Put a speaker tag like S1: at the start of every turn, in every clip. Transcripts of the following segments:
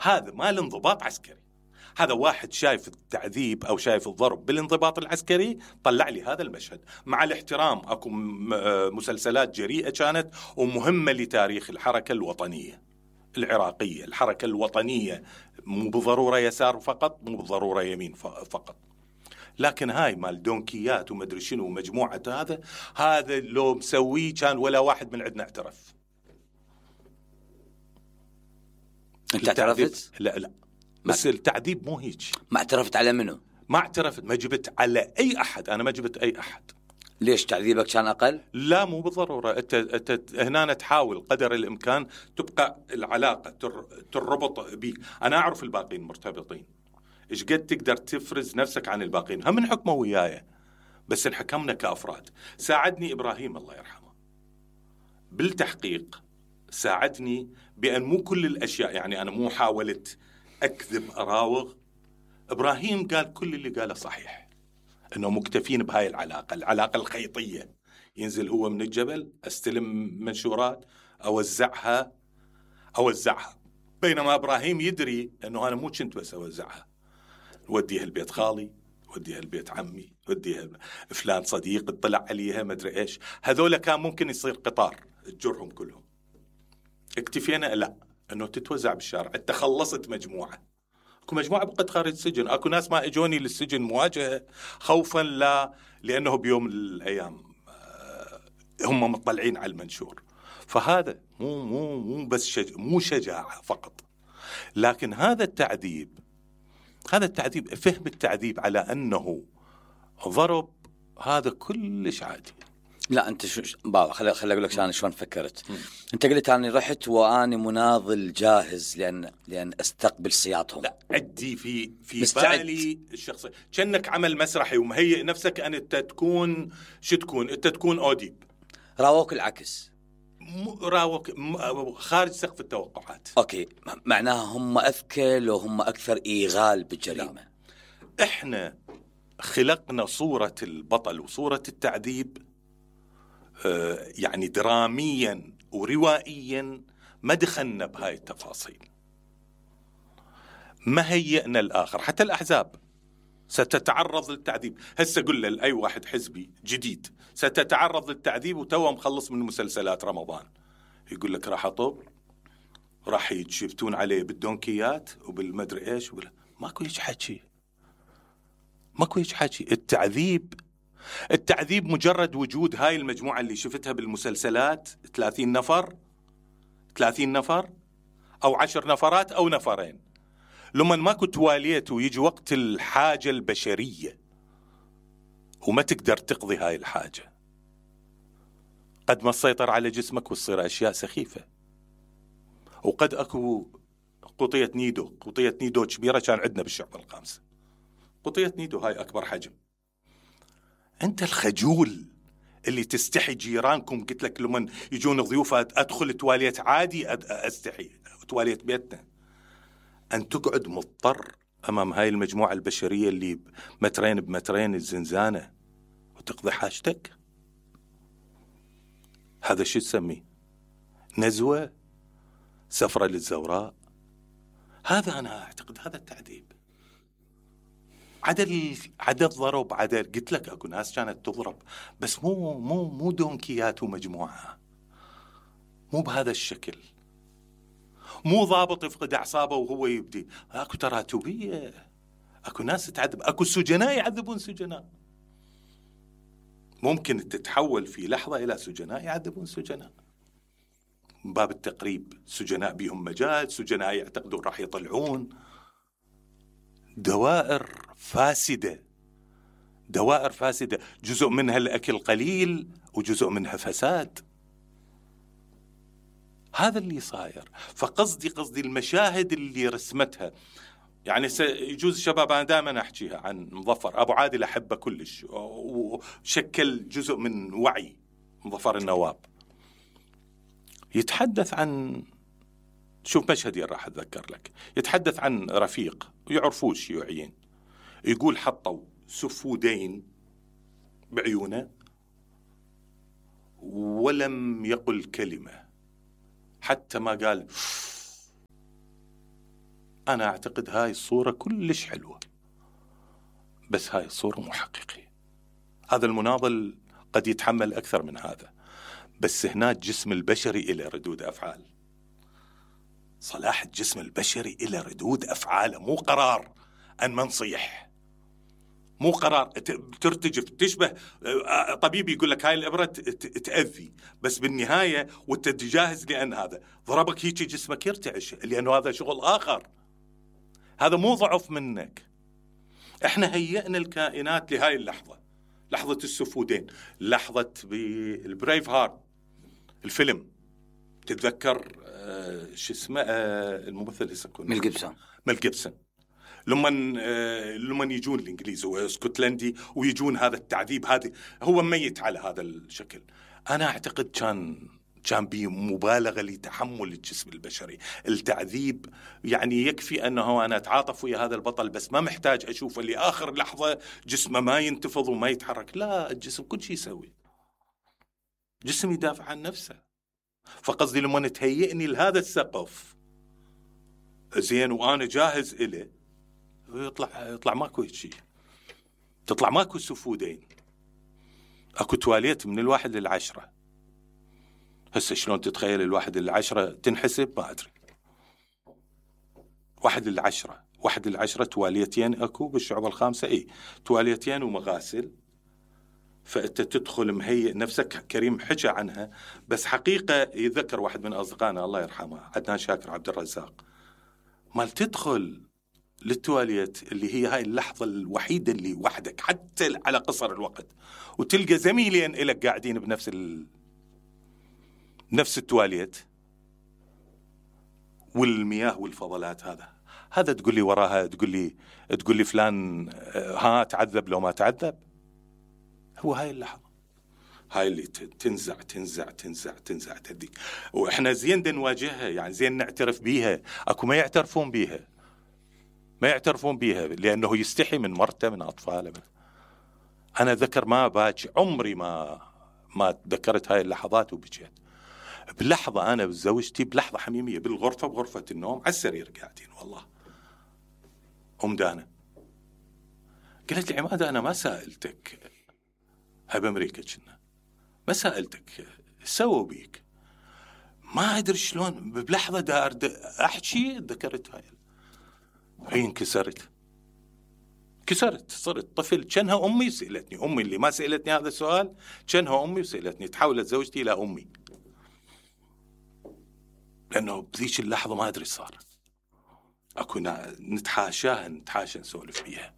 S1: هذا ما الانضباط عسكري. هذا واحد شايف التعذيب أو شايف الضرب بالانضباط العسكري طلع لي هذا المشهد. مع الاحترام أكو مسلسلات جريئة كانت ومهمة لتاريخ الحركة الوطنية العراقية. الحركة الوطنية مو بالضرورة يسار فقط، مو بالضرورة يمين فقط، لكن هاي مال دونكيات ومدري شنو ومجموعة هذا لو مسويه كان ولا واحد من عندنا اعترف.
S2: انت اعترفت؟
S1: لا بس التعذيب مو هيك.
S2: ما اعترفت على منو؟
S1: ما اعترفت، ما جبت على اي احد، انا ما جبت اي احد.
S2: ليش تعذيبك كان اقل؟
S1: لا مو بالضروره. انت هنا تحاول قدر الامكان تبقى العلاقه تربط بيك. انا اعرف الباقين مرتبطين، ايش قد تقدر تفرز نفسك عن الباقين. هم نحكموا وياي بس انحكمنا كافراد. ساعدني ابراهيم الله يرحمه بالتحقيق، ساعدني بان مو كل الاشياء، يعني انا مو حاولت اكذب اراوغ. ابراهيم قال كل اللي قاله صحيح، انه مكتفين بهاي العلاقه الخيطيه. ينزل هو من الجبل، استلم منشورات، اوزعها، بينما ابراهيم يدري انه انا مو كنت بس اوزعها، وديها البيت خالي، وديها البيت عمي، وديها فلان صديق اطلع عليها ما ادري ايش. هذول كان ممكن يصير قطار تجرهم كلهم. اكتفينا لا انه تتوزع بالشارع. انت خلصت مجموعه، اكو مجموعه بقت خارج السجن، اكو ناس ما اجوني للسجن مواجهه خوفا لانه بيوم من الايام هم مطلعين على المنشور. فهذا مو بس مو شجاعه فقط، لكن هذا التعذيب فهم التعذيب على انه ضرب، هذا كلش عادي.
S2: لا انت بابا خلي اقول لك انا شلون فكرت. انت قلت اني رحت واني مناضل جاهز لان استقبل سياطهم.
S1: لا عدي في بالي الشخصي كأنك عمل مسرحي ومهيئ نفسك ان انت تكون شو تكون، انت تكون اوديب.
S2: راوك العكس،
S1: راوك خارج سقف التوقعات.
S2: اوكي، معناها هم اذكى وهم اكثر ايغال بالجريمه.
S1: لا. احنا خلقنا صورة البطل وصورة التعذيب يعني دراميا وروائيا، ما دخلنا بهاي التفاصيل، ما هيئنا الآخر. حتى الأحزاب ستتعرض للتعذيب. هسه قل لأي واحد حزبي جديد ستتعرض للتعذيب وتوه مخلص من مسلسلات رمضان، يقول لك راح أطب، راح يتشفتون عليه بالدونكيات وبالمدري إيش. ماكو هيك حكي، ماكو هيك حكي. التعذيب مجرد وجود هاي المجموعة اللي شفتها بالمسلسلات، 30 نفر أو 10 نفرات أو نفرين، لما ماكو تواليت ويجي وقت الحاجة البشرية وما تقدر تقضي هاي الحاجة، قد ما تسيطر على جسمك وتصير أشياء سخيفة. وقد أكو قطية نيدو كبيرة كان عندنا بالشعب الخامسة، قطية نيدو هاي أكبر حجم. أنت الخجول اللي تستحي جيرانكم، قلت لك لمن يجون ضيوفة أدخل تواليت عادي، أستحي تواليت بيتنا. أن تقعد مضطر أمام هاي المجموعة البشرية اللي مترين بمترين الزنزانة وتقضي حاجتك، هذا شو تسميه؟ نزوة؟ سفرة للزوراء؟ هذا أنا أعتقد هذا التعذيب. عدد ضرب، قلت لك اكو ناس كانت تضرب، بس مو دونكيات ومجموعة، مو بهذا الشكل. مو ضابط يفقد اعصابه وهو يبدي. اكو تراتبية، اكو ناس تعذب، اكو سجناء يعذبون سجناء. ممكن تتحول في لحظة الى سجناء يعذبون سجناء، من باب التقريب. سجناء بيهم مجال، سجناء يعتقدون راح يطلعون. دوائر فاسدة، جزء منها الأكل قليل وجزء منها فساد. هذا اللي صاير. فقصدي المشاهد اللي رسمتها، يعني يجوز الشباب، أنا دائما أحكيها عن مظفر أبو عادل، أحبه كلش وشكل جزء من وعي مظفر النواب. يتحدث عن، شوف مشهدين راح أتذكر لك، يتحدث عن رفيق ويعرفوه الشيوعيين، يقول حطوا سفودين بعيونه ولم يقل كلمة، حتى ما قال أنا أعتقد هاي الصورة كلش حلوة، بس هاي الصورة مو حقيقية. هذا المناضل قد يتحمل أكثر من هذا، بس هنا الجسم البشري إلى ردود أفعال. صلاح الجسم البشري إلى ردود أفعال، مو قرار أن ما نصيح، مو قرار ترتجف تشبه طبيب يقول لك هاي الإبرة تأذي، بس بالنهاية وانت جاهز لأن هذا ضربك هيك جسمك يرتعش، لأنه هذا شغل آخر. هذا مو ضعف منك. احنا هيئنا الكائنات لهاي اللحظة، لحظة السفودين، لحظة بالبريف هارت الفيلم. تتذكر شو اسمه الممثل يسكون ميل جيبسون لما يجون الانجليز واسكتلندي ويجون هذا التعذيب، هذا هو ميت على هذا الشكل. انا اعتقد كان بمبالغه لتحمل الجسم البشري التعذيب. يعني يكفي انه انا اتعاطف ويا هذا البطل، بس ما محتاج اشوفه لاخر لحظه جسمه ما ينتفض وما يتحرك. لا، الجسم كل شيء يسوي، جسم يدافع عن نفسه. فقصدي لما تهيئني لهذا السقف زين وانا جاهز إليه، يطلع ماكو شيء، تطلع ماكو سفودين، اكو تواليت من 1 ل10. هسه شلون تتخيل 1 ل10 تنحسب؟ ما ادري. 1 ل10 تواليتين اكو بالشعب الخامسة، اي تواليتين ومغاسل. فأنت تدخل مهيئ نفسك. كريم حكى عنها، بس حقيقة يذكر واحد من أصدقائنا الله يرحمه عدنان شاكر عبد الرزاق، مال تدخل للتواليت اللي هي هاي اللحظة الوحيدة اللي وحدك حتى على قصر الوقت، وتلقى زميلين إلك قاعدين نفس التواليت والمياه والفضلات. هذا تقول لي وراها، تقول لي فلان ها تعذب لو ما تعذب. هو هاي اللحظة، هاي اللي تنزع تنزع تنزع تنزع تديك. وإحنا زين نواجهها، يعني زين نعترف بيها. أكو ما يعترفون بيها لأنه يستحي من مرته من أطفاله. أنا ذكر ما باكي عمري ما تذكرت هاي اللحظات وبكيت. بلحظة أنا وزوجتي بلحظة حميمية بغرفة النوم على السرير قاعدين، والله دانا قالت لي عمادة أنا ما سألتك، هاي بأمريكا كنا، ما سألتك سووا بيك، ما أدري شلون بلحظة دار أحكي ذكرت هاي انكسرت، صرت طفل. كانها أمي سألتني، أمي اللي ما سألتني هذا السؤال كانها أمي وسألتني. تحولت زوجتي إلى أمي، لأنه بذيك اللحظة ما أدري صار. أكو نتحاشى نسولف فيها.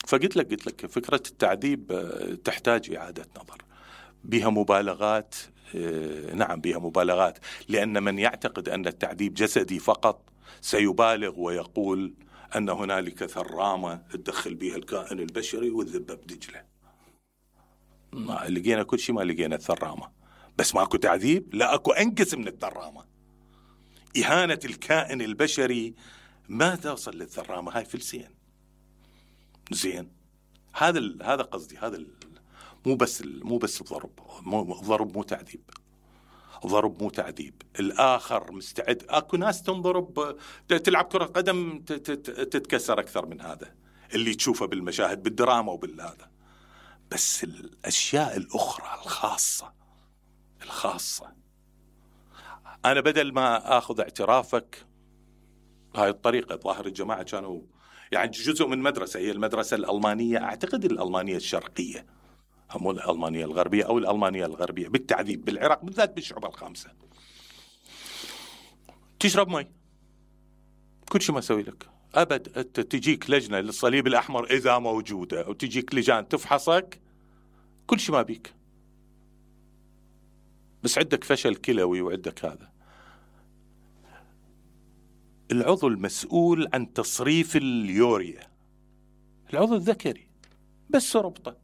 S1: فقلت لك فكرة التعذيب تحتاج إعادة نظر، بها مبالغات. نعم بها مبالغات، لأن من يعتقد أن التعذيب جسدي فقط سيبالغ ويقول أن هنالك ثرامة تدخل بها الكائن البشري والذبة بدجلة. ما لقينا كل شيء، ما لقينا الثرامة، بس ماكو تعذيب. لا، أكو أنقص من الثرامة. إهانة الكائن البشري ما توصل للثرامة، هاي فلسين. زين هذا قصدي. هذا مو بس ضرب مو تعذيب. ضرب مو تعذيب. الآخر مستعد. أكو ناس تنضرب تلعب كرة قدم تتكسر أكثر من هذا اللي تشوفه بالمشاهد بالدراما وبالهذا. بس الأشياء الأخرى الخاصة أنا بدل ما أخذ اعترافك هاي الطريقة، ظاهر الجماعة كانوا يعني جزء من مدرسة، هي المدرسة الألمانية، أعتقد الألمانية الشرقية، مو الألمانية الغربية أو الألمانية الغربية، بالتعذيب بالعراق بالذات بالشعوب الخامسة. تشرب مي كل شيء ما أسوي لك أبد. أنت تجيك لجنة للصليب الأحمر إذا موجودة، أو تجيك لجان تفحصك، كل شيء ما بيك، بس عندك فشل كلوي وعندك هذا. العضو المسؤول عن تصريف اليوريا العضو الذكري، بس ربطه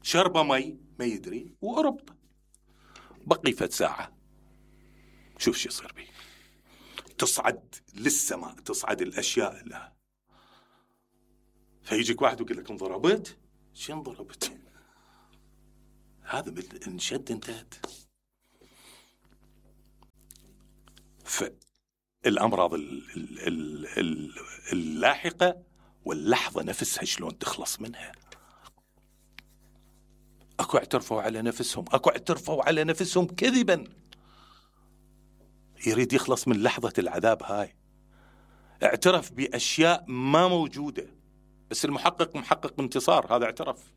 S1: شربة مي ما يدري وأربطه بقي فد ساعة، شوف شو يصير بي. تصعد للسماء، تصعد الأشياء لها. فيجيك واحد ويقول لك انضربت. شو انضربت؟ هذا انشد انتهت. فالأمراض اللاحقة واللحظة نفسها شلون تخلص منها. أكو اعترفوا على نفسهم، أكو اعترفوا على نفسهم كذبا، يريد يخلص من لحظة العذاب هاي، اعترف بأشياء ما موجودة، بس المحقق محقق انتصار، هذا اعترف.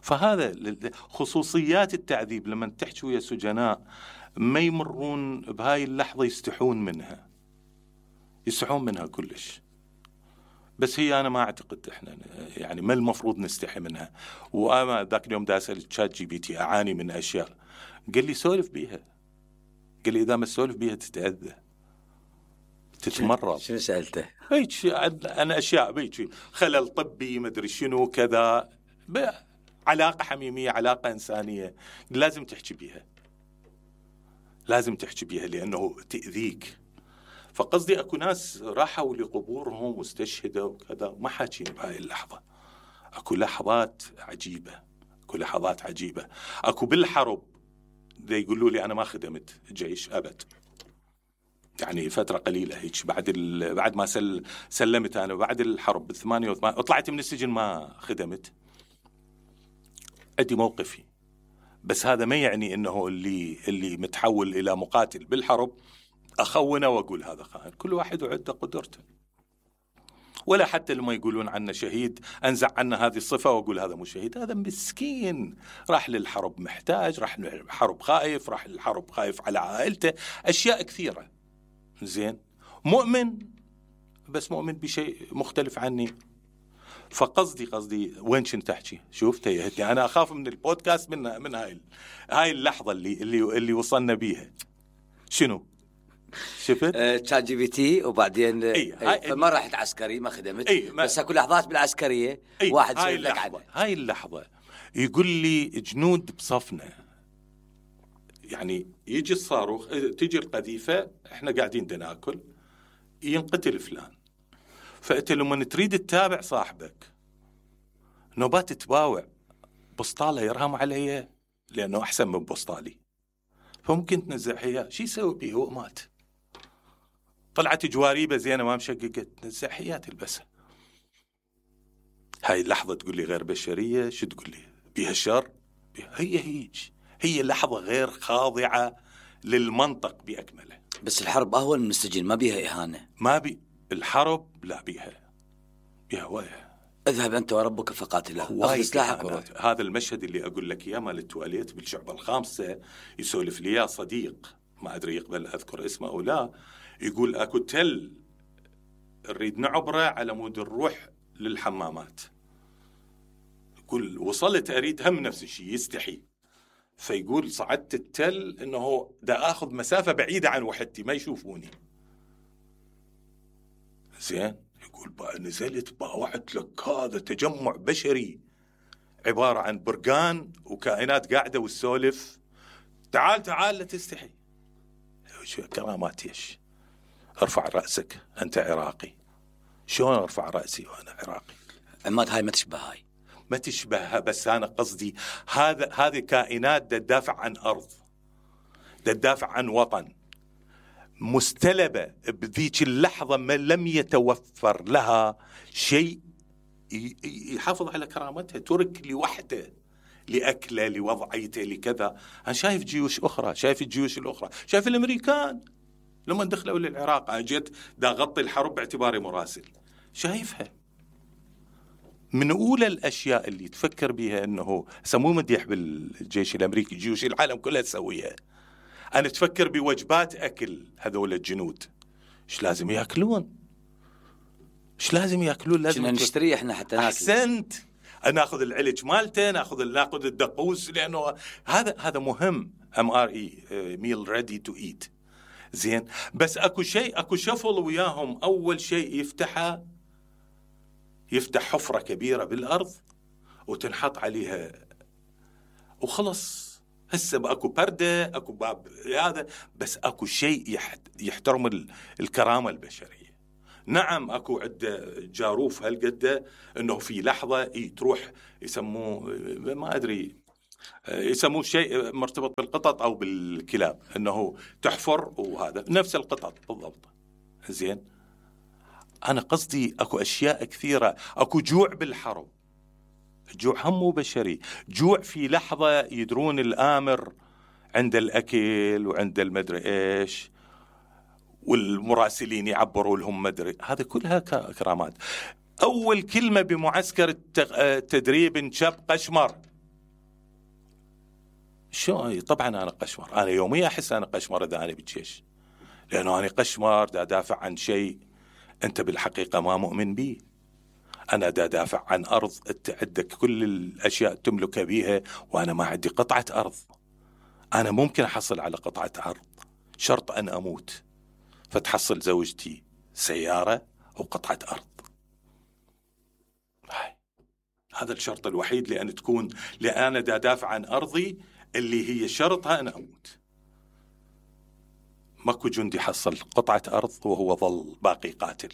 S1: فهذا خصوصيات التعذيب. لما تحكي ويا سجناء ما يمرون بهاي اللحظة يستحون منها كلش. بس هي أنا ما أعتقد إحنا يعني ما المفروض نستحي منها. وأنا ذاك اليوم دا أسأل تشات جي بي تي أعاني من أشياء، قال لي سولف بيها، قال لي إذا ما سولف بيها تتأذى تتمرض.
S2: شنو سألته؟
S1: هيك أنا أشياء بيك خلل طبي مدري شنو كذا، علاقة حميمية علاقة إنسانية لازم تحكي بيها لأنه تأذيك. فقصدي أكو ناس راحوا لقبورهم واستشهدوا وكذا ما حاكين بهاي اللحظة. أكو لحظات عجيبة. أكو بالحرب دي يقولوا لي أنا ما خدمت جيش أبد، يعني فترة قليلة هيك بعد ما سلمت أنا بعد الحرب ب88 طلعت من السجن ما خدمت. أدي موقفي، بس هذا ما يعني إنه اللي متحول إلى مقاتل بالحرب أخونه وأقول هذا خائن. كل واحد وعده قدرته. ولا حتى لما يقولون عنه شهيد أنزع عنه هذه الصفة وأقول هذا مو شهيد. هذا مسكين راح للحرب محتاج، راح للحرب خايف، راح للحرب خايف على عائلته، أشياء كثيرة. زين، مؤمن بس مؤمن بشيء مختلف عني. فقصدي وين كنت تحكي؟ شوف تيهتني. أنا أخاف من البودكاست من هاي اللحظة اللي وصلنا بيها. شنو؟ شفت؟
S2: تشات جي بي تي وبعدين فما رحت عسكري ما خدمت. بس اكو لحظات بالعسكرية واحد يسوي لك عنها.
S1: هاي اللحظة يقول لي جنود بصفنا، يعني يجي الصاروخ تيجي القذيفة احنا قاعدين ناكل ينقتل فلان، فأنت لما تريد تتابع صاحبك نوبات تباوع بسطالة يرهم علي لأنه أحسن من بسطالي، فممكن تنزع حياه. شي يسوي بيه؟ هو مات. طلعت جواريبه زينه ما مشققت، نزع حياه تلبسها. هاي اللحظه تقول لي غير بشريه، شو تقول لي بيها شر؟ هي لحظه غير خاضعه للمنطق باكمله.
S2: بس الحرب اهون من السجن، ما بيها اهانه.
S1: الحرب لا بيها وايه.
S2: اذهب انت وربك فقاتلا، اخذ سلاحك.
S1: هذا المشهد اللي اقول لك اياه مال التواليت بالشعبة الخامسة، يسولف لي يا صديق ما ادري يقبل اذكر اسمه او لا، يقول اكو تل نريد نعبره على مود نروح للحمامات، يقول وصلت اريد هم نفس الشيء يستحي، فيقول صعدت التل انه دا اخذ مسافة بعيدة عن وحدتي ما يشوفوني. زين، يقول بقى نزلت باوعت لك هذا تجمع بشري عبارة عن برقان وكائنات قاعدة والسولف، تعال لا تستحي. شو كرامات يش؟ ارفع رأسك أنت عراقي. شلون ارفع رأسي وأنا عراقي؟
S2: عماد هاي ما
S1: تشبهها، بس أنا قصدي هذه كائنات تدافع عن أرض، تدافع عن وطن، مستلبة بذيك اللحظة ما لم يتوفر لها شيء يحافظ على كرامتها، ترك لوحده لأكله لوضعيته لكذا. أنا شايف جيوش أخرى، شايف الجيوش الأخرى، شايف الأمريكان لما دخلوا للعراق، أنا جيت دا غطي الحرب باعتباري مراسل، شايفها من أولى الأشياء اللي تفكر بها أنه سموه مديح بالجيش الأمريكي، جيوش العالم كلها تسويها. أنا تفكر بوجبات أكل هذول الجنود، إيش لازم يأكلون؟ لازم
S2: نشتري إحنا حتى ناكل.
S1: أحسنت، ناخذ العلج مالته، ناخذ الدقوس، لأنه هذا مهم. MRE meal ready to eat. زين، بس أكو شفل وياهم. أول شيء يفتح حفرة كبيرة بالأرض وتنحط عليها وخلص. هسه اكو بردة، اكو باب هذا، بس اكو شيء يحترم الكرامة البشرية. نعم اكو عدة جاروف هالقدة انه في لحظة تروح يسموه ما ادري يسموه شيء مرتبط بالقطط أو بالكلاب، أنه تحفر وهذا نفس القطط بالضبط. زين، أنا قصدي أكو أشياء كثيرة، أكو جوع بالحرب، الجوع هم مو بشري، جوع في لحظة يدرون الآمر عند الأكل وعند المدري إيش، والمراسلين يعبروا لهم مدري، هذا كلها كرامات. أول كلمة بمعسكر التدريب انشب قشمر. شو؟ طبعا أنا قشمر، أنا يوميا أحس أنا قشمر إذا أنا بالجيش، لأنه أنا قشمر دا دافع عن شيء أنت بالحقيقة ما مؤمن به. أنا دا دافع عن أرض أنت عندك كل الأشياء تملك بيها وأنا ما عندي قطعة أرض. أنا ممكن أحصل على قطعة أرض، شرط أن أموت فتحصل زوجتي سيارة أو قطعة أرض. هذا الشرط الوحيد لأن تكون، لأن أنا دا دافع عن أرضي اللي هي شرطها أنا أموت. ماكو جندي حصل قطعة أرض وهو ظل باقي قاتل،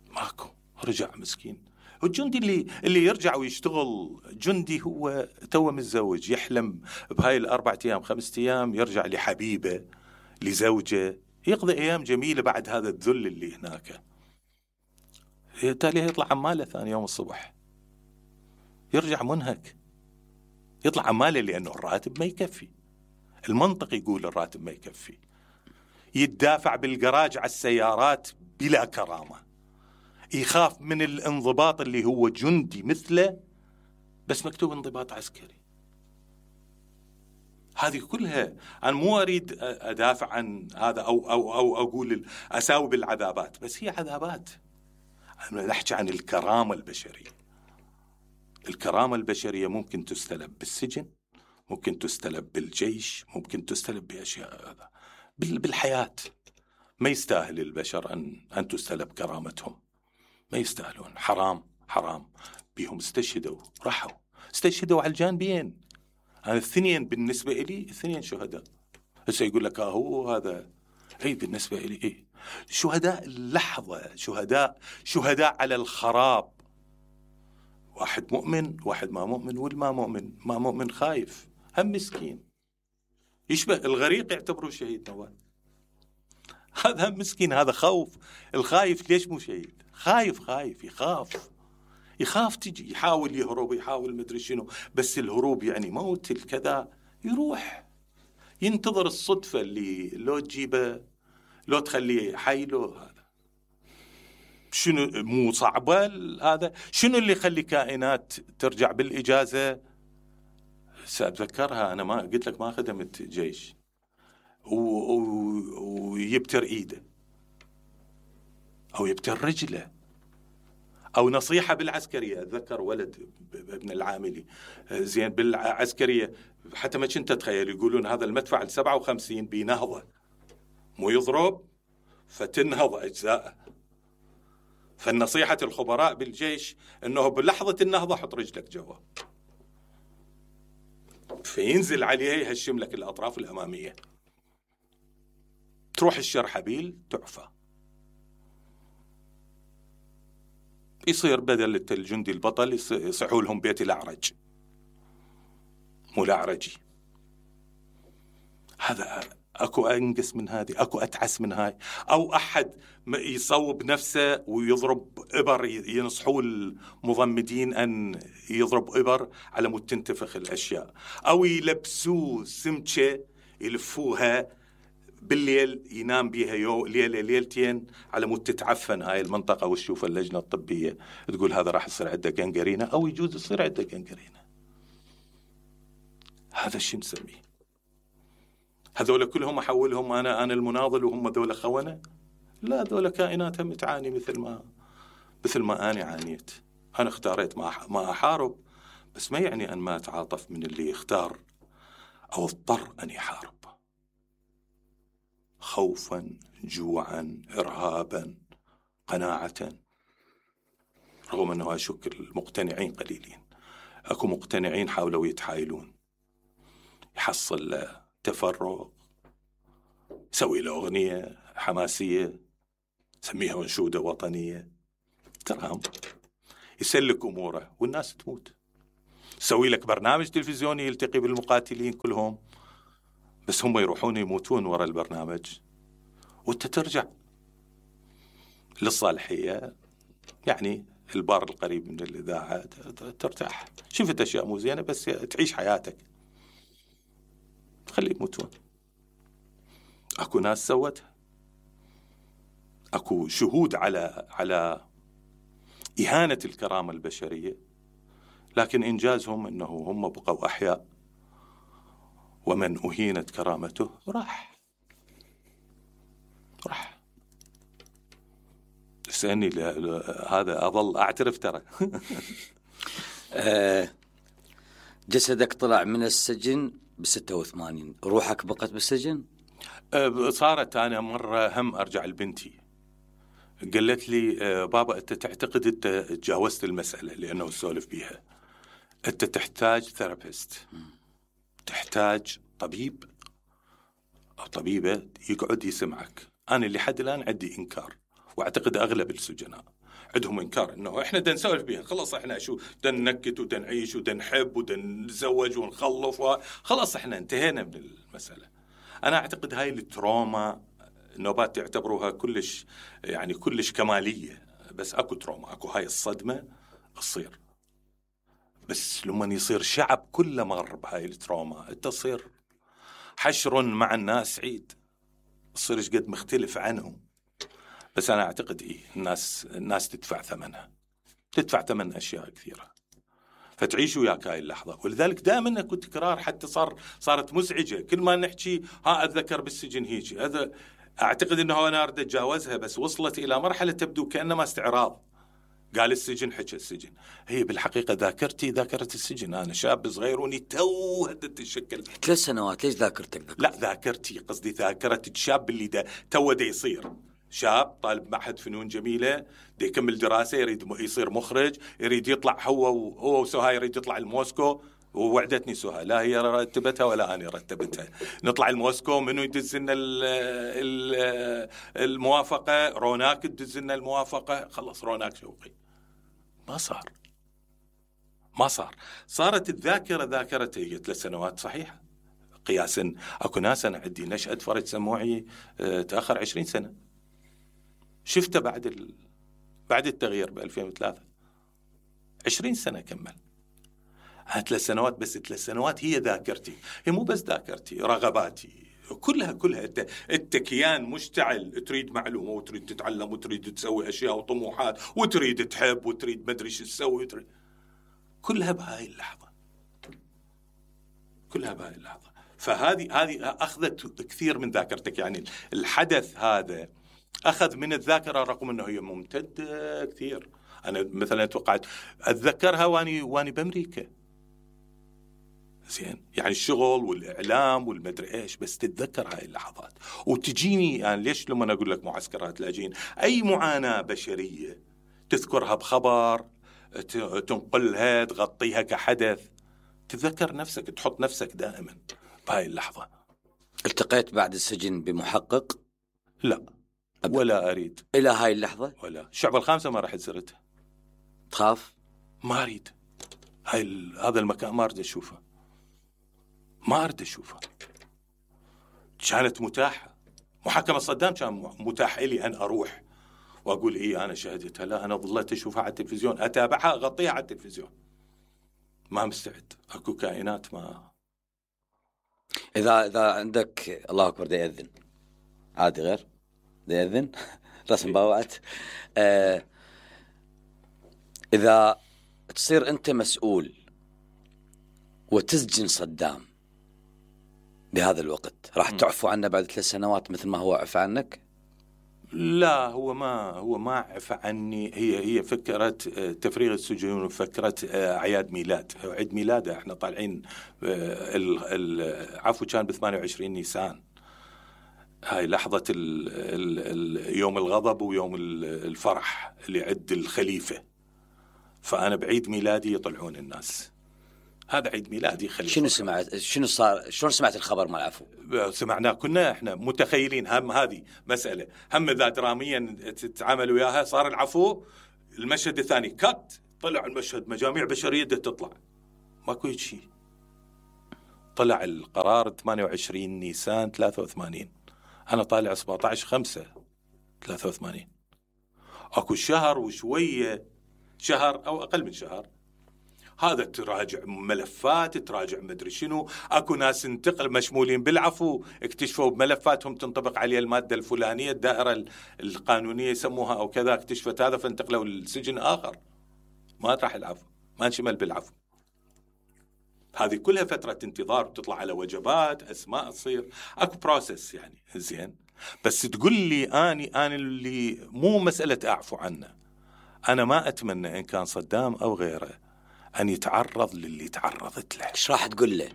S1: ماكو، رجع مسكين. والجندي اللي يرجع ويشتغل جندي هو توه متزوج، يحلم بهاي ال4 أيام 5 أيام يرجع لحبيبه لزوجه، يقضي أيام جميلة بعد هذا الذل اللي هناك. تالي يطلع عماله ثاني يوم الصبح، يرجع منهك، يطلع عماله لأنه الراتب ما يكفي. المنطق يقول الراتب ما يكفي، يتدافع بالجراج على السيارات بلا كرامة، يخاف من الانضباط اللي هو جندي مثله بس مكتوب انضباط عسكري. هذه كلها أنا مو أريد أدافع عن هذا أو أقول أساوي بالعذابات، بس هي عذابات. أنا نحكي عن الكرامة البشرية. الكرامة البشرية ممكن تستلب بالسجن، ممكن تستلب بالجيش، ممكن تستلب بأشياء هذا بالحياة. ما يستاهل البشر أن تستلب كرامتهم، ما يستاهلون. حرام حرام. بيهم استشهدوا، راحوا استشهدوا على الجانبين. أنا الاثنين بالنسبة إلي الاثنين شهداء. هسه يقول لك هو هذا، أي بالنسبة إلي إيه، شهداء اللحظة، شهداء على الخراب. واحد مؤمن واحد ما مؤمن، والما مؤمن ما مؤمن خايف، هم مسكين، يشبه الغريق يعتبره شهيد نوال. هذا هم مسكين، هذا خوف. الخايف ليش مو شهيد؟ خايف يخاف تجي، يحاول يهرب، يحاول مدري شنو، بس الهروب يعني موت الكذا، يروح ينتظر الصدفة اللي لو تجيبه لو تخليه حي له. هذا شنو مو صعبة هذا؟ شنو اللي يخلي كائنات ترجع بالإجازة؟ سأتذكرها، أنا ما قلت لك ما خدمت جيش، ويبتر إيده أو يبتر رجله، أو نصيحة بالعسكرية. أتذكر ولد ابن العاملي زين بالعسكرية، حتى ما كنت أتخيل، يقولون هذا المدفع 57 بنهضة، مو يضرب فتنهض أجزاء. فالنصيحة الخبراء بالجيش أنه بلحظة النهضة حط رجلك جوا، فينزل عليه يهشم لك الأطراف الأمامية، تروح الشرحبيل تعفى. يصير بدل الجندي البطل يصحوا لهم بيت الأعرج، مو الأعرجي. هذا أكو أنقص من هذه، أكو أتعس من هاي. أو أحد يصوب نفسه ويضرب إبر، ينصحوا المضمدين أن يضرب إبر على مود تنتفخ الأشياء، أو يلبسوه سمكة يلفوها بالليل ينام بيها ليلة ليلتين على مود تتعفن هاي المنطقة، وتشوف اللجنة الطبية تقول هذا راح يصير عنده جنجرينة، أو يجوز يصير عنده جنجرينة. هذا شو نسميه؟ هذول كلهم أحولهم أنا المناضل وهم ذول خونة؟ لا، ذول كائنات هم تعاني مثل ما أنا عانيت. أنا اختاريت ما أحارب، بس ما يعني أن ما أتعاطف من اللي يختار أو اضطر أن يحارب، خوفا، جوعا، إرهابا، قناعة. رغم أنه أشك المقتنعين قليلين، أكو مقتنعين حاولوا يتحايلون، يحصل تفرغ، يسوي له أغنية حماسية سميها أنشودة وطنية، ترام يسلك أموره والناس تموت. سوي لك برنامج تلفزيوني يلتقي بالمقاتلين كلهم، بس هم يروحون يموتون وراء البرنامج وانت ترجع للصالحية، يعني البار القريب من الإذاعة، ترتاح. شفت أشياء مو زينة بس تعيش حياتك، خلي يموتون. أكو ناس سوتها، أكو شهود على إهانة الكرامة البشرية، لكن إنجازهم أنه هم بقوا أحياء، ومن أهينت كرامته راح. تسألني هذا أظل أعترف ترى.
S2: جسدك طلع من السجن ب86، روحك بقت بالسجن؟
S1: صارت أنا مرة هم أرجع لبنتي، قالت لي بابا أنت تعتقد أنت تجاوزت المسألة، لأنه سولف بيها. أنت تحتاج ثيرابيست، تحتاج طبيب أو طبيبة يقعد يسمعك. أنا اللي حد الآن عندي إنكار، واعتقد اغلب السجناء عندهم انكار انه احنا بدنا نسولف بيها، خلاص احنا شو بدنا ننكت وبدنا نعيش وبدنا نحب وبدنا نتزوج ونخلف خلاص احنا انتهينا من المساله. انا اعتقد هاي التروما النوبات يعتبروها كلش يعني كلش كماليه، بس اكو تروما، اكو هاي الصدمه تصير، بس لما يصير شعب كله مر بهاي التروما انت تصير حشر مع الناس سعيد، تصير ايش قد مختلف عنهم. بس أنا أعتقد الناس تدفع ثمنها، تدفع ثمن أشياء كثيرة، فتعيش وياك هاي اللحظة. ولذلك دائما أكو تكرار، حتى صارت مزعجة كل ما نحكي أتذكر بالسجن هيك. هذا أعتقد أنه أنا أريد أتجاوزها، بس وصلت إلى مرحلة تبدو كأنما استعراض. قال السجن، حكى السجن، هي بالحقيقة ذاكرة السجن. أنا شاب صغير وني تو هدت الشكل
S2: 3 سنوات. ليش ذاكرتك؟
S1: لا ذاكرتي قصدي ذاكرة الشاب اللي تو يصير شاب طالب معهد فنون جميلة، دي يكمل دراسة، يريد يصير مخرج، يريد يطلع هو وسهى يريد يطلع الموسكو. ووعدتني سهى، لا هي رتبتها ولا أنا رتبتها، نطلع الموسكو، منو يدز لنا الموافقة؟ روناك تدز لنا الموافقة. خلص روناك شوقي ما صار. صارت الذاكرة ذاكرته هي 3 سنوات صحيحة قياسا. أكو ناس أنا عندي نشأة فرج سموعي تأخر 20 سنة، شفته بعد التغيير ب2003، 20 سنة كمل. 3 سنوات بس، 3 سنوات هي ذاكرتي، هي مو بس ذاكرتي، رغباتي كلها انت كيان مشتعل، تريد معلومة وتريد تتعلم وتريد تسوي أشياء وطموحات وتريد تحب وتريد مدري شو تسوي، كلها بهاي اللحظة. فهذه أخذت كثير من ذاكرتك. يعني الحدث هذا أخذ من الذاكرة رغم أنه هي ممتدة كثير. أنا مثلا توقعت أتذكرها واني بأمريكا، زين، يعني الشغل والإعلام والمدري إيش، بس تتذكر هاي اللحظات وتجيني. يعني ليش لما أقول لك معسكرات لاجئين، أي معاناة بشرية تذكرها بخبر، تنقلها، تغطيها كحدث، تتذكر نفسك، تحط نفسك دائما بهاي اللحظة.
S2: التقيت بعد السجن بمحقق؟
S1: لا ولا أريد
S2: إلى هاي اللحظة،
S1: ولا الشعب ال5 ما راح زرتها.
S2: تخاف؟
S1: ما أريد هذا المكان، ما أريد أشوفه، ما أريد أشوفه. كانت متاحة، محاكمة صدام كان متاح لي أن أروح وأقول إيه أنا شهدتها. لا، أنا ظلت أشوفها على التلفزيون، أتابعها، أغطيها على التلفزيون، ما مستعد. أكو كائنات ما.
S2: إذا عندك الله أكبر دا يأذن عادي، غير دا يأذن رسم باوعت. إذا تصير أنت مسؤول وتسجن صدام بهذا الوقت، راح تعفو عنه بعد 3 سنوات مثل ما هو عفى عنك؟
S1: لا، هو ما عفى عني. هي فكرة تفريغ السجون وفكرة أعياد ميلاد، عيد ميلاده احنا طالعين. العفو كان ب28 نيسان، هاي لحظة يوم الغضب ويوم الفرح اللي عد الخليفة. فأنا بعيد ميلادي يطلعون الناس، هذا عيد ميلادي خليفة.
S2: شنو سمعت؟ شنو صار؟ شلون سمعت الخبر مع العفو؟
S1: سمعناه، كنا احنا متخيلين هذه مسألة إذا دراميا تتعامل وياها. صار العفو، المشهد الثاني كات، طلع المشهد مجاميع بشرية تطلع، ماكو شيء. طلع القرار 28 نيسان 83، أنا طالع 17/5/83. أكو شهر وشوية، شهر أو أقل من شهر، هذا تراجع ملفات، تراجع مدري شنو، أكو ناس انتقل مشمولين بالعفو، اكتشفوا بملفاتهم تنطبق عليه المادة الفلانية، الدائرة القانونية يسموها أو كذا، اكتشفت هذا فانتقلوا للسجن آخر، ما راح العفو، ما انشمل بالعفو. هذه كلها فترة انتظار، وتطلع على وجبات، أسماء تصير، أكو بروسس يعني. زين، بس تقول لي أنا اللي مو مسألة أعفو عنه، أنا ما أتمنى إن كان صدام أو غيره أن يتعرض للي تعرضت له.
S2: إيش راح تقول له؟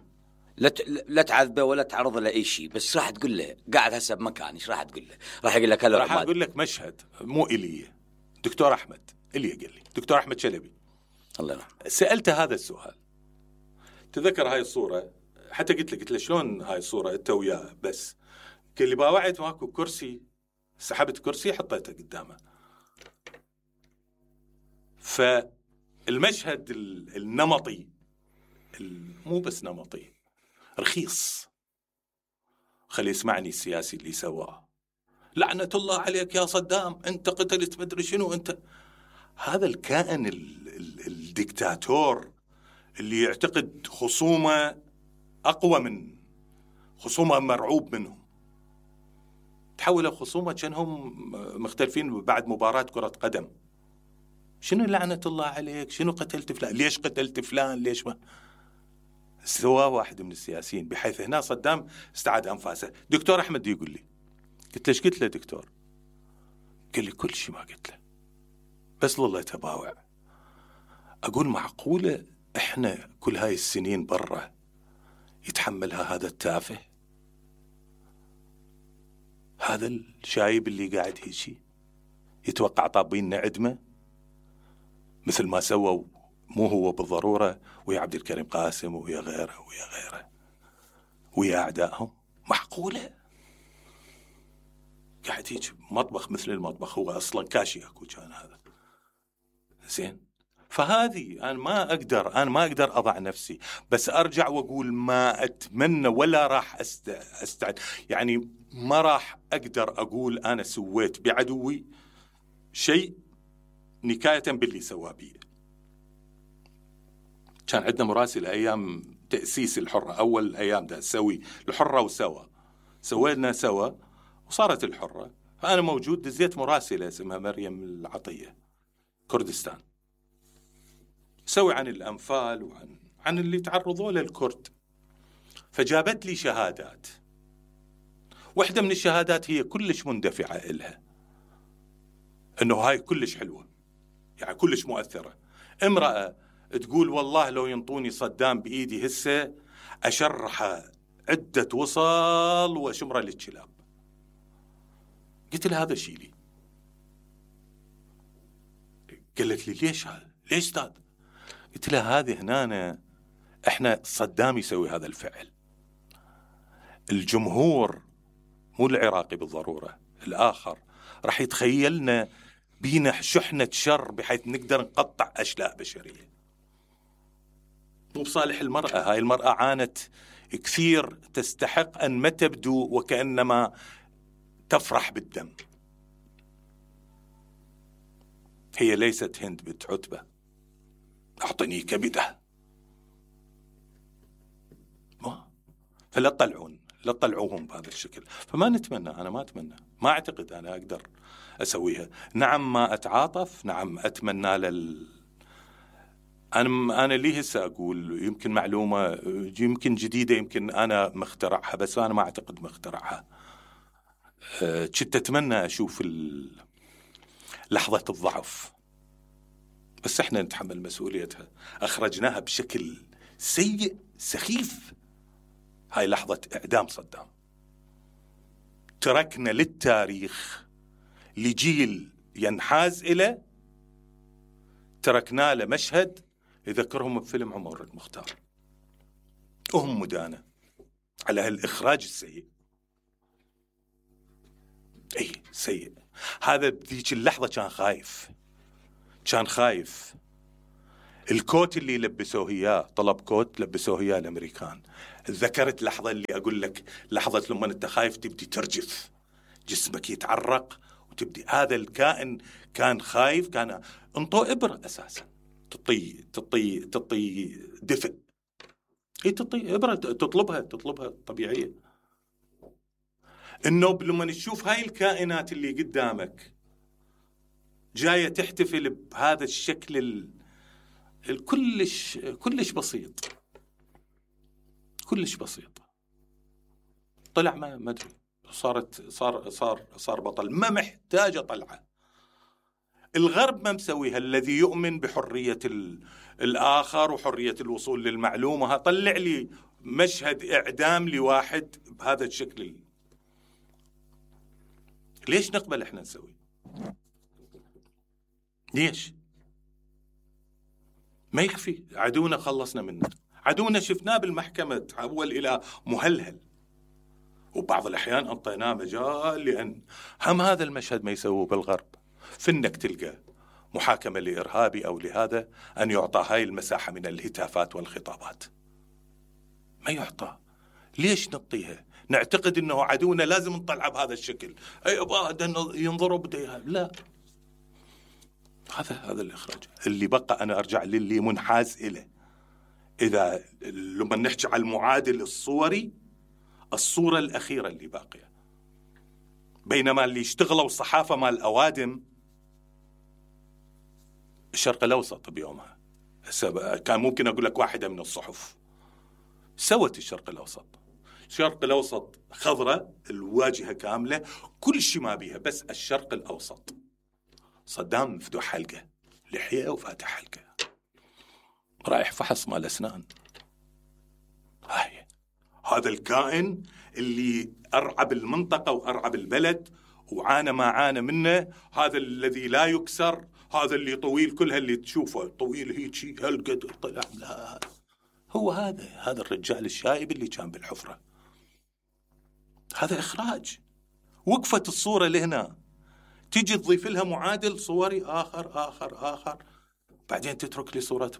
S2: لا تعذبه ولا تعرض له أي شيء، بس راح تقول له قاعد هسه بمكان، إيش راح تقول له؟ راح يقول لك هلا.
S1: راح أقول لك مشهد مو إلي، دكتور أحمد اللي قال لي، دكتور أحمد شلبي،
S2: الله يرحمه،
S1: سألته هذا السؤال. تذكر هاي الصورة، حتى قلت له شلون هاي الصورة أنت وياه، بس قال لي باوعد ماكو كرسي، سحبت كرسي حطيته قدامه. فالمشهد النمطي، مو بس نمطي، رخيص. خلي يسمعني السياسي اللي سواه، لعنة الله عليك يا صدام، أنت قتلت مدري شنو، أنت هذا الكائن الدكتاتور اللي يعتقد خصومه أقوى من خصومه، مرعوب منهم، تحولوا خصومه كأنهم مختلفين بعد مباراة كرة قدم. شنو لعنة الله عليك، شنو قتلت فلان، ليش قتلت فلان، ليش ما سواه واحد من السياسيين، بحيث هنا صدام استعاد أنفاسه. دكتور أحمد يقول لي، قلت له ايش قلت له دكتور؟ قال لي كل شيء ما قلت له، بس والله تباوع. أقول معقولة إحنا كل هاي السنين برا يتحملها هذا التافه، هذا الشايب اللي قاعد هيجي يتوقع طابيننا عدمه مثل ما سووا، مو هو بالضرورة، ويا عبد الكريم قاسم ويا غيره ويا غيره ويا أعدائهم. معقولة قاعد هيك مطبخ مثل المطبخ، هو أصلا كاشي أكو كان هذا. زين، فهذه أنا ما أقدر أضع نفسي، بس أرجع وأقول ما أتمنى ولا راح أستعد، يعني ما راح أقدر أقول أنا سويت بعدوي شيء نكاية باللي سوى بي. كان عندنا مراسل أيام تأسيس الحرة، أول أيام ده سوي الحرة سوينا سوا وصارت الحرة، فأنا موجود، دزيت مراسلة اسمها مريم العطية كردستان، سوي عن الأنفال وعن اللي تعرضوا له الكرد. فجابت لي شهادات، واحدة من الشهادات هي كلش مندفعة إلها، إنه هاي كلش حلوة، يعني كلش مؤثرة. امرأة تقول والله لو ينطوني صدام بإيدي هسه أشرحه عدة وصل وأشمره للكلاب. قلت لها هذا شيلي. قالت لي ليش هذا؟ ليش استاذ؟ قلت لها هذه هنا احنا صدام يسوي هذا الفعل، الجمهور مو العراقي بالضرورة، الآخر راح يتخيلنا بينا شحنة شر بحيث نقدر نقطع أشلاء بشرية. مو بصالح المرأة، هاي المرأة عانت كثير، تستحق أن ما تبدو وكأنما تفرح بالدم. هي ليست هند بنت عتبة أعطني كبده، فلا تطلعوهم بهذا الشكل. فما نتمنى، أنا ما أتمنى، ما أعتقد أنا أقدر أسويها. نعم ما أتعاطف، نعم أتمنى أنا ليه هسه أقول يمكن معلومة يمكن جديدة، يمكن أنا مخترعها، بس أنا ما أعتقد مخترعها. كنت أتمنى أشوف لحظة الضعف، بس إحنا نتحمل مسؤوليتها. أخرجناها بشكل سيء سخيف، هاي لحظة إعدام صدام. تركنا للتاريخ لجيل ينحاز إليه، تركنا له مشهد يذكرهم بفيلم عمر المختار، وهم مدانة على هالإخراج السيء. أي سيء. هذا بذيك اللحظة كان خايف الكوت اللي لبسوه اياه، طلب كوت لبسوه اياه الامريكان. ذكرت لحظة اللي اقول لك، لحظة لما انت خايف تبدي ترجف، جسمك يتعرق وتبدي، هذا الكائن كان خايف، كان انطوا ابرة اساسا تطي دفء. هي تطي ابرة تطلبها طبيعية. النوب لما نشوف هاي الكائنات اللي قدامك جاية تحتفل بهذا الشكل كلش بسيط، كلش بسيط، طلع ما ادري، صار بطل، ما محتاج طلعه. الغرب ما مسويها، الذي يؤمن بحرية الآخر وحرية الوصول للمعلومة، طلع لي مشهد إعدام لواحد بهذا الشكل. ليش نقبل احنا نسوي؟ ليش؟ ما يكفي عدونا خلصنا منه، عدونا شفناه بالمحكمة تحول إلى مهلهل، وبعض الأحيان أعطيناه مجال لأن هم هذا المشهد ما يسووه بالغرب. فإنك تلقى محاكمة لإرهابي أو لهذا أن يعطى هاي المساحة من الهتافات والخطابات، ما يعطى. ليش نعطيها؟ نعتقد أنه عدونا لازم نطلعه بهذا الشكل، أي ينظروا بديها، لا. هذا الإخراج اللي بقى. أنا أرجع للي منحاز إليه. إذا لما نحكي على المعادل الصوري، الصورة الأخيرة اللي باقية، بينما اللي اشتغلوا الصحافة مال الأوادم الشرق الأوسط بيومها، كان ممكن أقول لك واحدة من الصحف سوت الشرق الأوسط خضرة، الواجهة كاملة، كل شيء ما بيها، بس الشرق الأوسط. صدام مفتوح حلقة، لحية وفاتح حلقة، رايح فحص مال أسنان. هذا الكائن اللي أرعب المنطقة وأرعب البلد وعانى ما عانى منه، هذا الذي لا يكسر، هذا اللي طويل، كلها اللي تشوفه طويل هيك هالقد طلع، لا، هو هذا الرجال الشايب اللي كان بالحفرة. هذا إخراج. وقفت الصورة لهنا، تيجي تضيف لها معادل صوري آخر، بعدين تترك لي صورة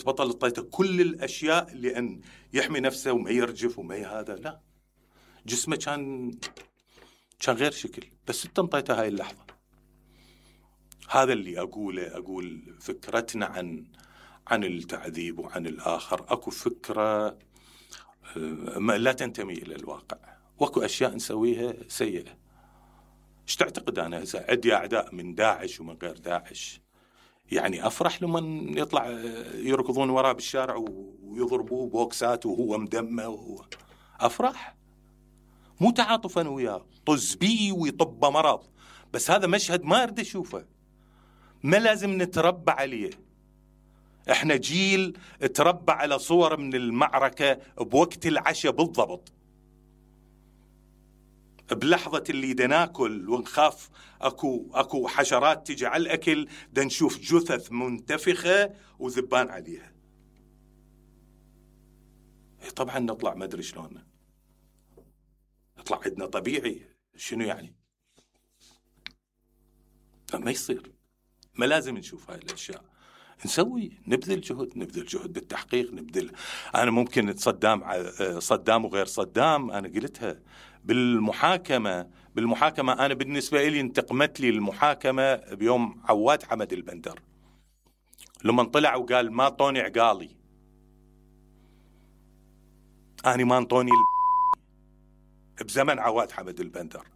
S1: بطل اعطيته كل الأشياء لأن يحمي نفسه وما يرجف وما هذا، لا، جسمه كان غير شكل، بس انت انطيته هاي اللحظة. هذا اللي أقول فكرتنا عن التعذيب وعن الآخر، أكو فكرة لا تنتمي إلى الواقع، واكو أشياء نسويها سيئة. ايش تعتقد أنا إذا عندي أعداء من داعش ومن غير داعش، يعني أفرح لما يطلع يركضون وراه بالشارع ويضربوه بوكسات وهو مدمه أفرح، مو تعاطفا وياه، طز بيه ويطب مرض، بس هذا مشهد ما أريد أشوفه، ما لازم نتربى عليه. احنا جيل تربى على صور من المعركة بوقت العشاء بالضبط، بلحظة اللي دناكل ونخاف اكو حشرات تجي على الأكل، نشوف جثث منتفخة وذبان عليها. طبعا نطلع ما ادري شلون، نطلع عندنا طبيعي، شنو يعني؟ ما يصير، ما لازم نشوف هاي الأشياء. نبذل جهد بالتحقيق، أنا ممكن صدام وغير صدام، أنا قلتها بالمحاكمة أنا بالنسبة لي انتقمت لي المحاكمة بيوم عواد حمد البندر لما طلع وقال ما طوني عقالي، أنا ما انطوني بزمن عواد حمد البندر.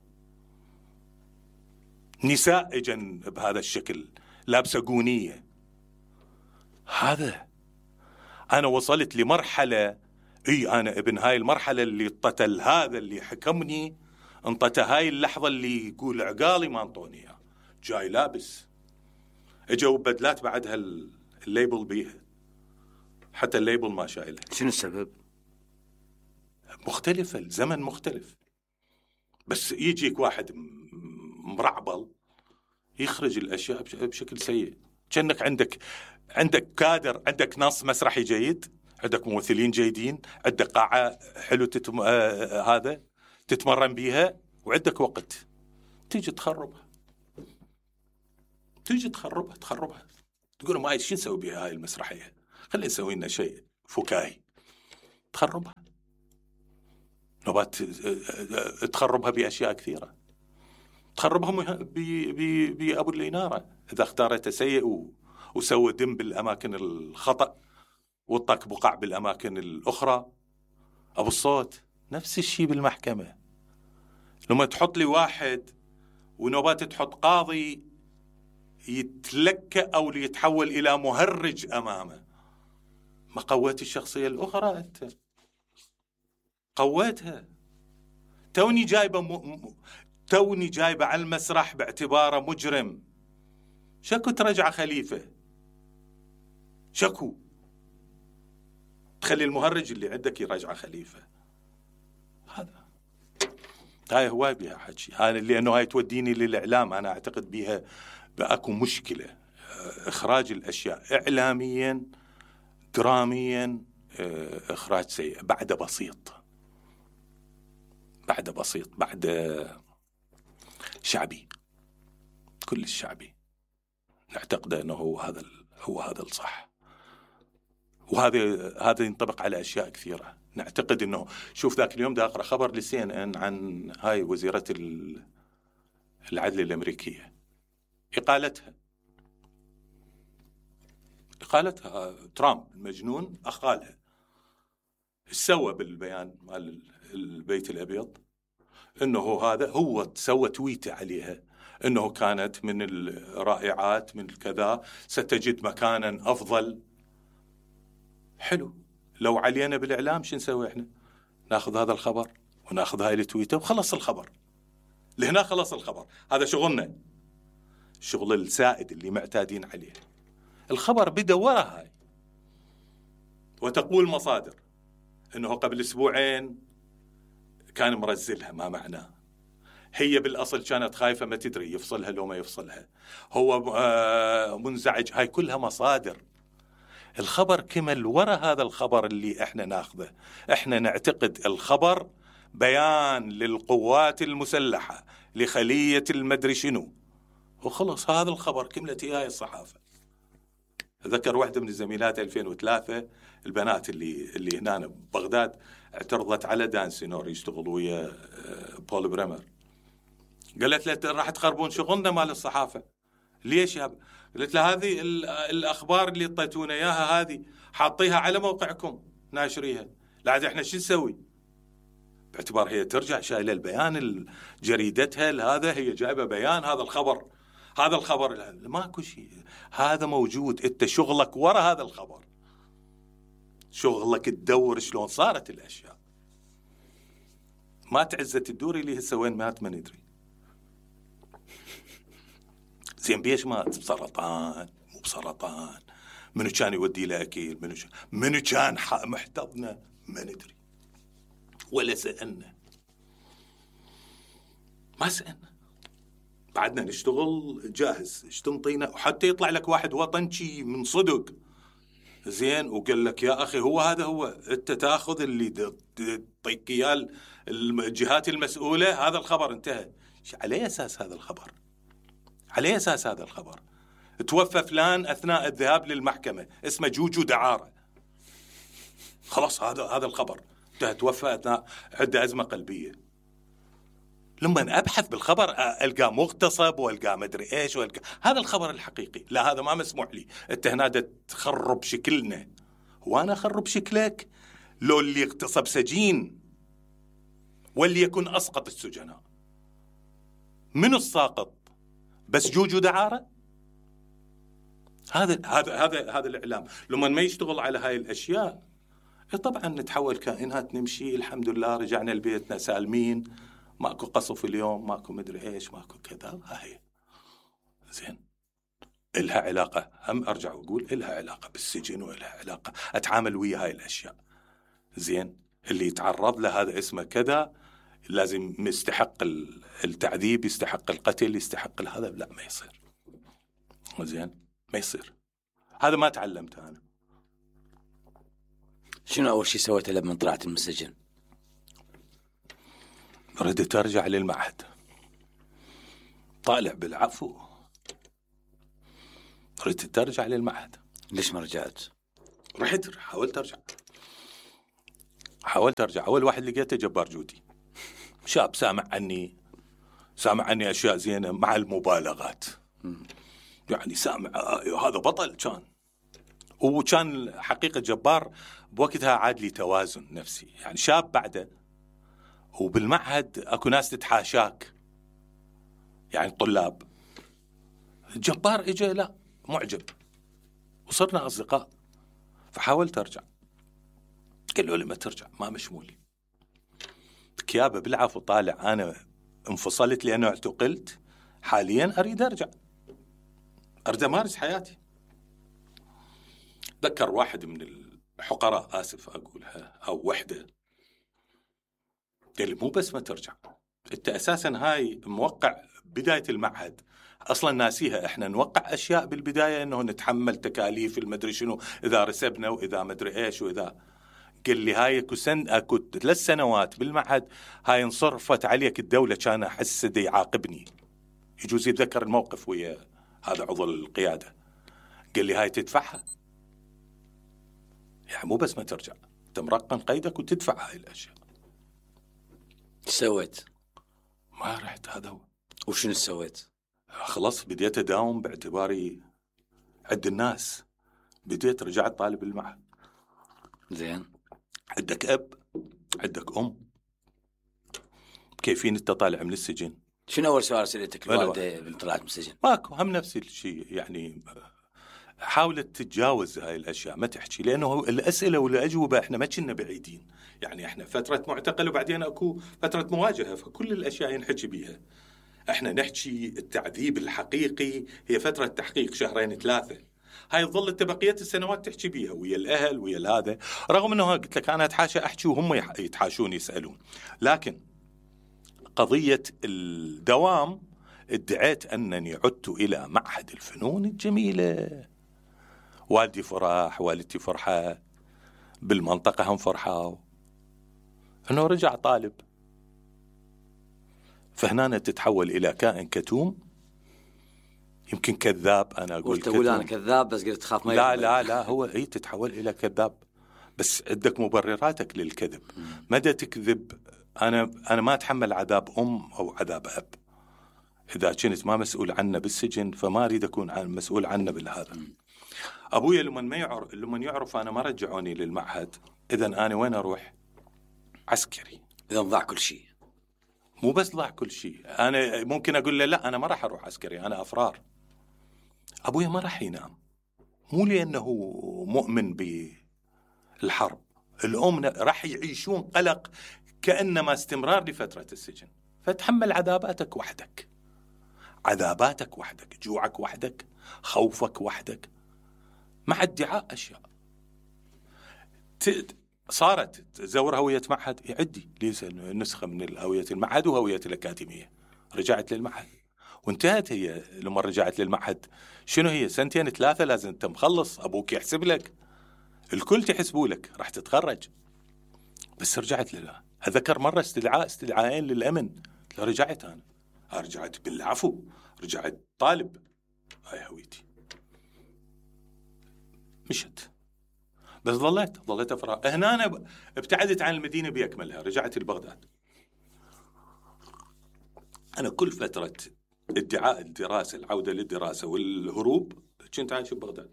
S1: نساء اجن بهذا الشكل لابسة قونية. هذا أنا وصلت لمرحلة، أنا ابن هاي المرحلة اللي انطتل هذا اللي حكمني، انطت هاي اللحظة اللي يقول عقالي ما انطوني، جاي لابس، اجوا بدلات بعدها الليبل بيها، حتى الليبل ما شايلها.
S2: شنو السبب؟
S1: مختلفة، الزمن مختلف، بس يجيك واحد مرعبل يخرج الأشياء بشكل سيء. كأنك عندك كادر، عندك نص مسرحي جيد، عندك ممثلين جيدين، عندك قاعة حلو هذا تتمرن بيها، وعندك وقت تيجي تخربها، تقول ما شو نسوي بها هاي المسرحية، خلينا نسوي لنا شيء فكاهي. تخربها نوبات، تخربها بأشياء كثيرة، تخربها بأبو الإنارة إذا اختارته سيء وسوى دم بالأماكن الخطأ وطاك بقع بالأماكن الأخرى. أبو الصوت نفس الشيء بالمحكمة، لما تحط لي واحد ونوبات تحط قاضي يتلكأ أو يتحول إلى مهرج أمامه، ما قويت الشخصية الأخرى؟ أنت قويتها. توني جايبة على المسرح باعتباره مجرم، شكو ترجع خليفة، شكو تخلي المهرج اللي عندك يرجع خليفة. هاي هواي بها حكي، هاي لأنه هاي توديني للإعلام. أنا أعتقد بها بأكو مشكلة، إخراج الأشياء إعلاميا دراميا إخراج سيء، بعد بسيط بعد شعبي، كل الشعبي نعتقد أنه هو هذا الصح. وهذا ينطبق على أشياء كثيرة. نعتقد أنه شوف ذاك اليوم دا أقرأ خبر لCNN عن هاي وزيرة العدل الأمريكية، إقالتها ترامب المجنون أخالها. سوى بالبيان مال البيت الأبيض أنه هذا هو سوى تويته عليها أنه كانت من الرائعات من الكذا، ستجد مكانا أفضل. حلو، لو علينا بالإعلام شو نسوي إحنا؟ ناخذ هذا الخبر وناخذ هاي التويته وخلص الخبر، لهنا خلص الخبر. هذا شغلنا، الشغل السائد اللي معتادين عليه. الخبر بدأ ورا هاي، وتقول مصادر أنه قبل أسبوعين كان مرزلها، ما معناه. هي بالأصل كانت خايفة ما تدري يفصلها لو ما يفصلها، هو منزعج. هاي كلها مصادر. الخبر كمل ورا هذا الخبر اللي احنا ناخذه. احنا نعتقد الخبر بيان للقوات المسلحة لخلية المدري شنو، وخلص هذا الخبر كملت هاي الصحافة. أذكر واحدة من الزميلات 2003 البنات اللي هنا ببغداد اعترضت على دان سينور يشتغل ويا بول بريمر، قالت له راح تخربون شغلنا مال الصحافة. ليش يا قلت له هذه الأخبار اللي اعطيتونا إياها هذه حاطيها على موقعكم ناشريها، لا عاد احنا شو نسوي؟ باعتبار هي ترجع شايله البيان جريدتها، هذا هي جايبه بيان هذا الخبر ماكو شيء، هذا موجود. انت شغلك ورا هذا الخبر، شغلك تدور شلون صارت الاشياء. مات عزت الدوري اللي هسه وين مات ما ندري. زين بيش مات؟ بسرطان، مو بسرطان، منو كان يودي له اكيل، منو كان محتضنه ما ندري، ولا سألنا، ما سألنا. بعدنا نشتغل جاهز، ايش تنطينا؟ وحتى يطلع لك واحد وطنشي من صدق زين وقال لك يا اخي هو هذا هو، انت تاخذ اللي تعطيك اياه الجهات المسؤوله، هذا الخبر انتهى. على اساس هذا الخبر، على اساس هذا الخبر توفى فلان اثناء الذهاب للمحكمه اسمه جوجو دعاره، خلاص هذا الخبر توفى اثناء عنده ازمه قلبيه. لما ابحث بالخبر القى مغتصب والقى مدري ايش هذا الخبر الحقيقي. لا هذا ما مسموح لي، انت هنا تخرب شكلنا. وانا اخرب شكلك؟ لو اللي اغتصب سجين واللي يكون اسقط السجناء، من الساقط؟ بس جوجو دعاره؟ هذا الاعلام لما ما يشتغل على هاي الاشياء طبعا نتحول كائنات نمشي الحمد لله رجعنا لبيتنا سالمين، ماكو قصف اليوم، ماكو مدري ايش، ماكو كذا. هاي زين إلها علاقة، هم ارجع واقول إلها علاقة بالسجن وإلها علاقة اتعامل ويا هاي الاشياء. زين اللي يتعرض له هذا اسمه كذا لازم يستحق التعذيب، يستحق القتل، يستحق هذا. لا ما يصير، زين ما يصير. هذا ما تعلمته انا.
S2: شنو اول شيء سويته لما طلعت من السجن؟
S1: ردت ارجع للمعهد، طالع بالعفو، ردت ترجع للمعهد.
S2: ليش ما رجعت؟
S1: رحت حاولت ارجع. اول واحد لقيته جبار جودي، شاب سامع عني اشياء زينه مع المبالغات. يعني سامع هذا بطل كان، وكان حقيقه جبار بوقتها. عاد لي توازن نفسي، يعني شاب بعده. وبالمعهد اكو ناس تتحاشاك، يعني الطلاب. جبار اجى لا معجب، وصرنا اصدقاء. فحاولت ارجع، قالوا لي ما ترجع، ما مشمولي كيابه بالعفو. طالع انا انفصلت لانه اعتقلت، حاليا اريد ارجع، اريد امارس حياتي. ذكر واحد من الحقراء، اسف اقولها، او وحده، قال لي مو بس ما ترجع، انت اساسا هاي موقع بدايه المعهد اصلا ناسيها. احنا نوقع اشياء بالبدايه انه نتحمل تكاليف المدري شنو اذا رسبنا واذا مدري ايش واذا. قال لي هاي اكو 3 سنوات بالمعهد، هاي انصرفت عليك الدوله. كان احس دي يعاقبني، يجوز يتذكر الموقف ويا هذا عضو القياده. قال لي هاي تدفعها، يعني مو بس ما ترجع، انت مرقم قيدك وتدفع هاي الاشياء.
S2: سويت؟
S1: ما رحت. هذا هو.
S2: وشنو سويت؟
S1: خلاص بديت اداوم باعتباري عند الناس. بديت رجعت طالب المعهد.
S2: زين.
S1: عندك اب، عندك ام، كيفين انت طالع من السجن؟
S2: شنو اول سؤال سالتك الوالده من طلعت من السجن؟
S1: ماكو، هم نفس الشيء. يعني حاولت تتجاوز هاي الاشياء، ما تحكي، لانه الاسئله والاجوبه احنا ما كنا بعيدين. يعني احنا فتره معتقل وبعدين اكو فتره مواجهه، فكل الاشياء ينحكي بيها. احنا نحكي التعذيب الحقيقي هي فتره تحقيق 2-3 شهور. هاي ظلت بقيه السنوات تحكي بيها ويا الاهل ويا هذا. رغم انه قلت لك انا اتحاشى احكي وهم يتحاشون يسالون، لكن قضيه الدوام ادعيت انني عدت الى معهد الفنون الجميله. والدي فرح، والدتي فرحة، بالمنطقة هم فرحوا انه رجع طالب. فهنا تتحول الى كائن كتوم، يمكن كذاب. انا اقول
S2: تقول انا كذاب بس قلت تخاف ما
S1: لا هو هي تتحول الى كذاب، بس عندك مبرراتك للكذب. مدى تكذب. انا ما اتحمل عذاب ام او عذاب اب. اذا كنت ما مسؤول عنه بالسجن فما اريد اكون مسؤول عنه بالهذا. ابويا لما يعرف انا ما رجعوني للمعهد، اذا انا وين اروح؟ عسكري.
S2: اذا ضاع كل شيء.
S1: مو بس ضاع كل شيء، انا ممكن اقول له لا انا ما راح اروح عسكري، انا افرار. ابويا ما راح ينام، مو لانه مؤمن بالحرب. الام راح يعيشون قلق كانما استمرار لفتره السجن. فتحمل عذاباتك وحدك، عذاباتك وحدك، جوعك وحدك، خوفك وحدك، مع ادعاء اشياء. صارت تزور هويه معهد، يعدي لي نسخه من هويه المعهد وهويه الاكاديميه. رجعت للمعهد وانتهت. هي لما رجعت للمعهد شنو هي 2-3 لازم انت مخلص، ابوك يحسب لك، الكل تحسبوا لك، راح تتخرج. بس رجعت لله. اذكر مره استدعاءين للامن، رجعت انا رجعت بالعفو، رجعت طالب. هاي هويتي. مشت، بس ظليت افرار. هنا أنا ابتعدت عن المدينه باكملها، رجعت لبغداد. انا كل فتره ادعاء الدراسه، العوده للدراسه والهروب، كنت عايش ببغداد.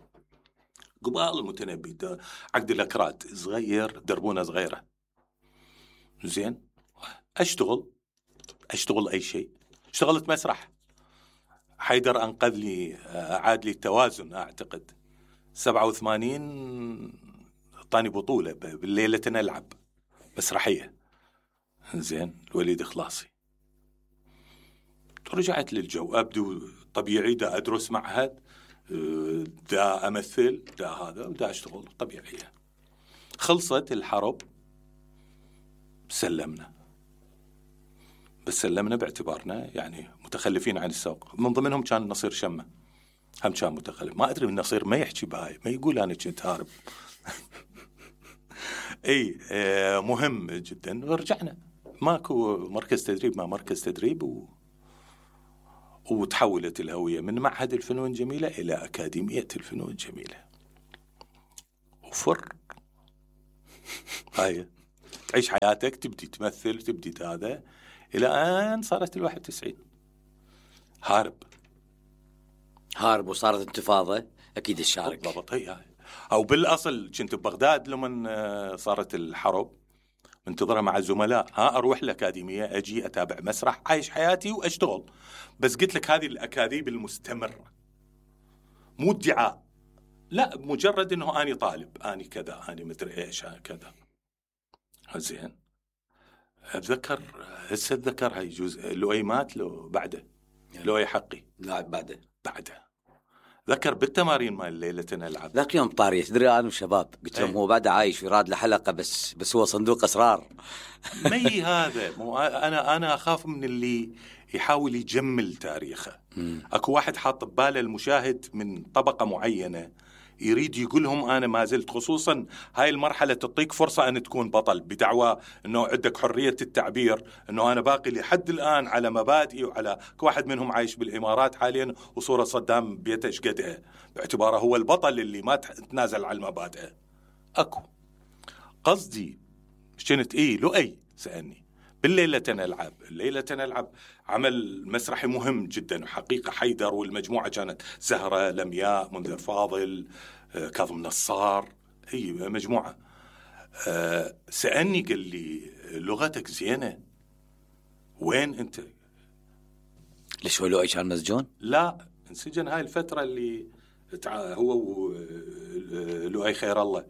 S1: قبال المتنبي عقد الاكراد صغير، دربونه صغيره. زين، اشتغل اي شيء. اشتغلت مسرح، حيدر انقذ لي، اعاد لي التوازن. اعتقد 87 اعطاني بطوله بالليله نلعب مسرحيه. زين، الوليد خلاصي. رجعت للجو، ابدو طبيعي، دا ادرس معهد، دا امثل، دا هذا، دا اشتغل طبيعيه. خلصت الحرب، سلمنا. بس سلمنا باعتبارنا يعني متخلفين عن السوق. من ضمنهم كان نصير شمة، هم كان متخلف. ما ادري من نصير ما يحكي بهاي، ما يقول انا كنت هارب. اي مهم جدا. ورجعنا، ماكو مركز تدريب، ما مركز تدريب وتحولت الهوية من معهد الفنون الجميلة إلى أكاديمية الفنون الجميلة. وفر هاي تعيش حياتك، تبدي تمثل، تبدي هذا، إلى أن صارت 91
S2: هارب وصارت انتفاضة. أكيد الشارك
S1: بالضبط. هي أو بالأصل كنت ببغداد لما صارت الحرب، منتظرة مع الزملاء، أروح الأكاديمية، أجي أتابع مسرح، عايش حياتي وأشتغل. بس قلت لك هذه الأكاذيب المستمرة، مو ادعاء، لا، مجرد إنه أنا طالب، أنا كذا، أنا مدري إيش، كذا. زين. أتذكر هسه أتذكر هاي جزء لؤي مات لو بعده، لؤي حقي
S2: لا بعده.
S1: ذكر بالتمارين مال ليلة نلعب
S2: ذاك يوم طاري تدري أنا وشباب قلت لهم هو بعد عايش ويراد له حلقة، بس هو صندوق أسرار.
S1: مي هذا مو أنا أخاف من اللي يحاول يجمل تاريخه. أكو واحد حاط بباله المشاهد من طبقة معينة يريد يقولهم أنا ما زلت، خصوصا هاي المرحلة تعطيك فرصة أن تكون بطل، بدعوى أنه عندك حرية التعبير، أنه أنا باقي لحد الآن على مبادئي وعلى واحد منهم عايش بالإمارات حاليا وصورة صدام بيته إيش قدها، باعتباره هو البطل اللي ما تنازل على المبادئ. أكو قصدي كنت لؤي سألني بالليلة نلعب. الليلة نلعب عمل مسرحي مهم جدا، وحقيقة حيدر والمجموعة كانت زهرة، لمياء، منذر فاضل، كاظم نصار، هي مجموعة. سألني قال لي لغتك زينة، وين أنت؟
S2: ليش هو لؤي كان مسجون؟
S1: لا، انسجن هاي الفترة اللي هو ولؤي خير الله،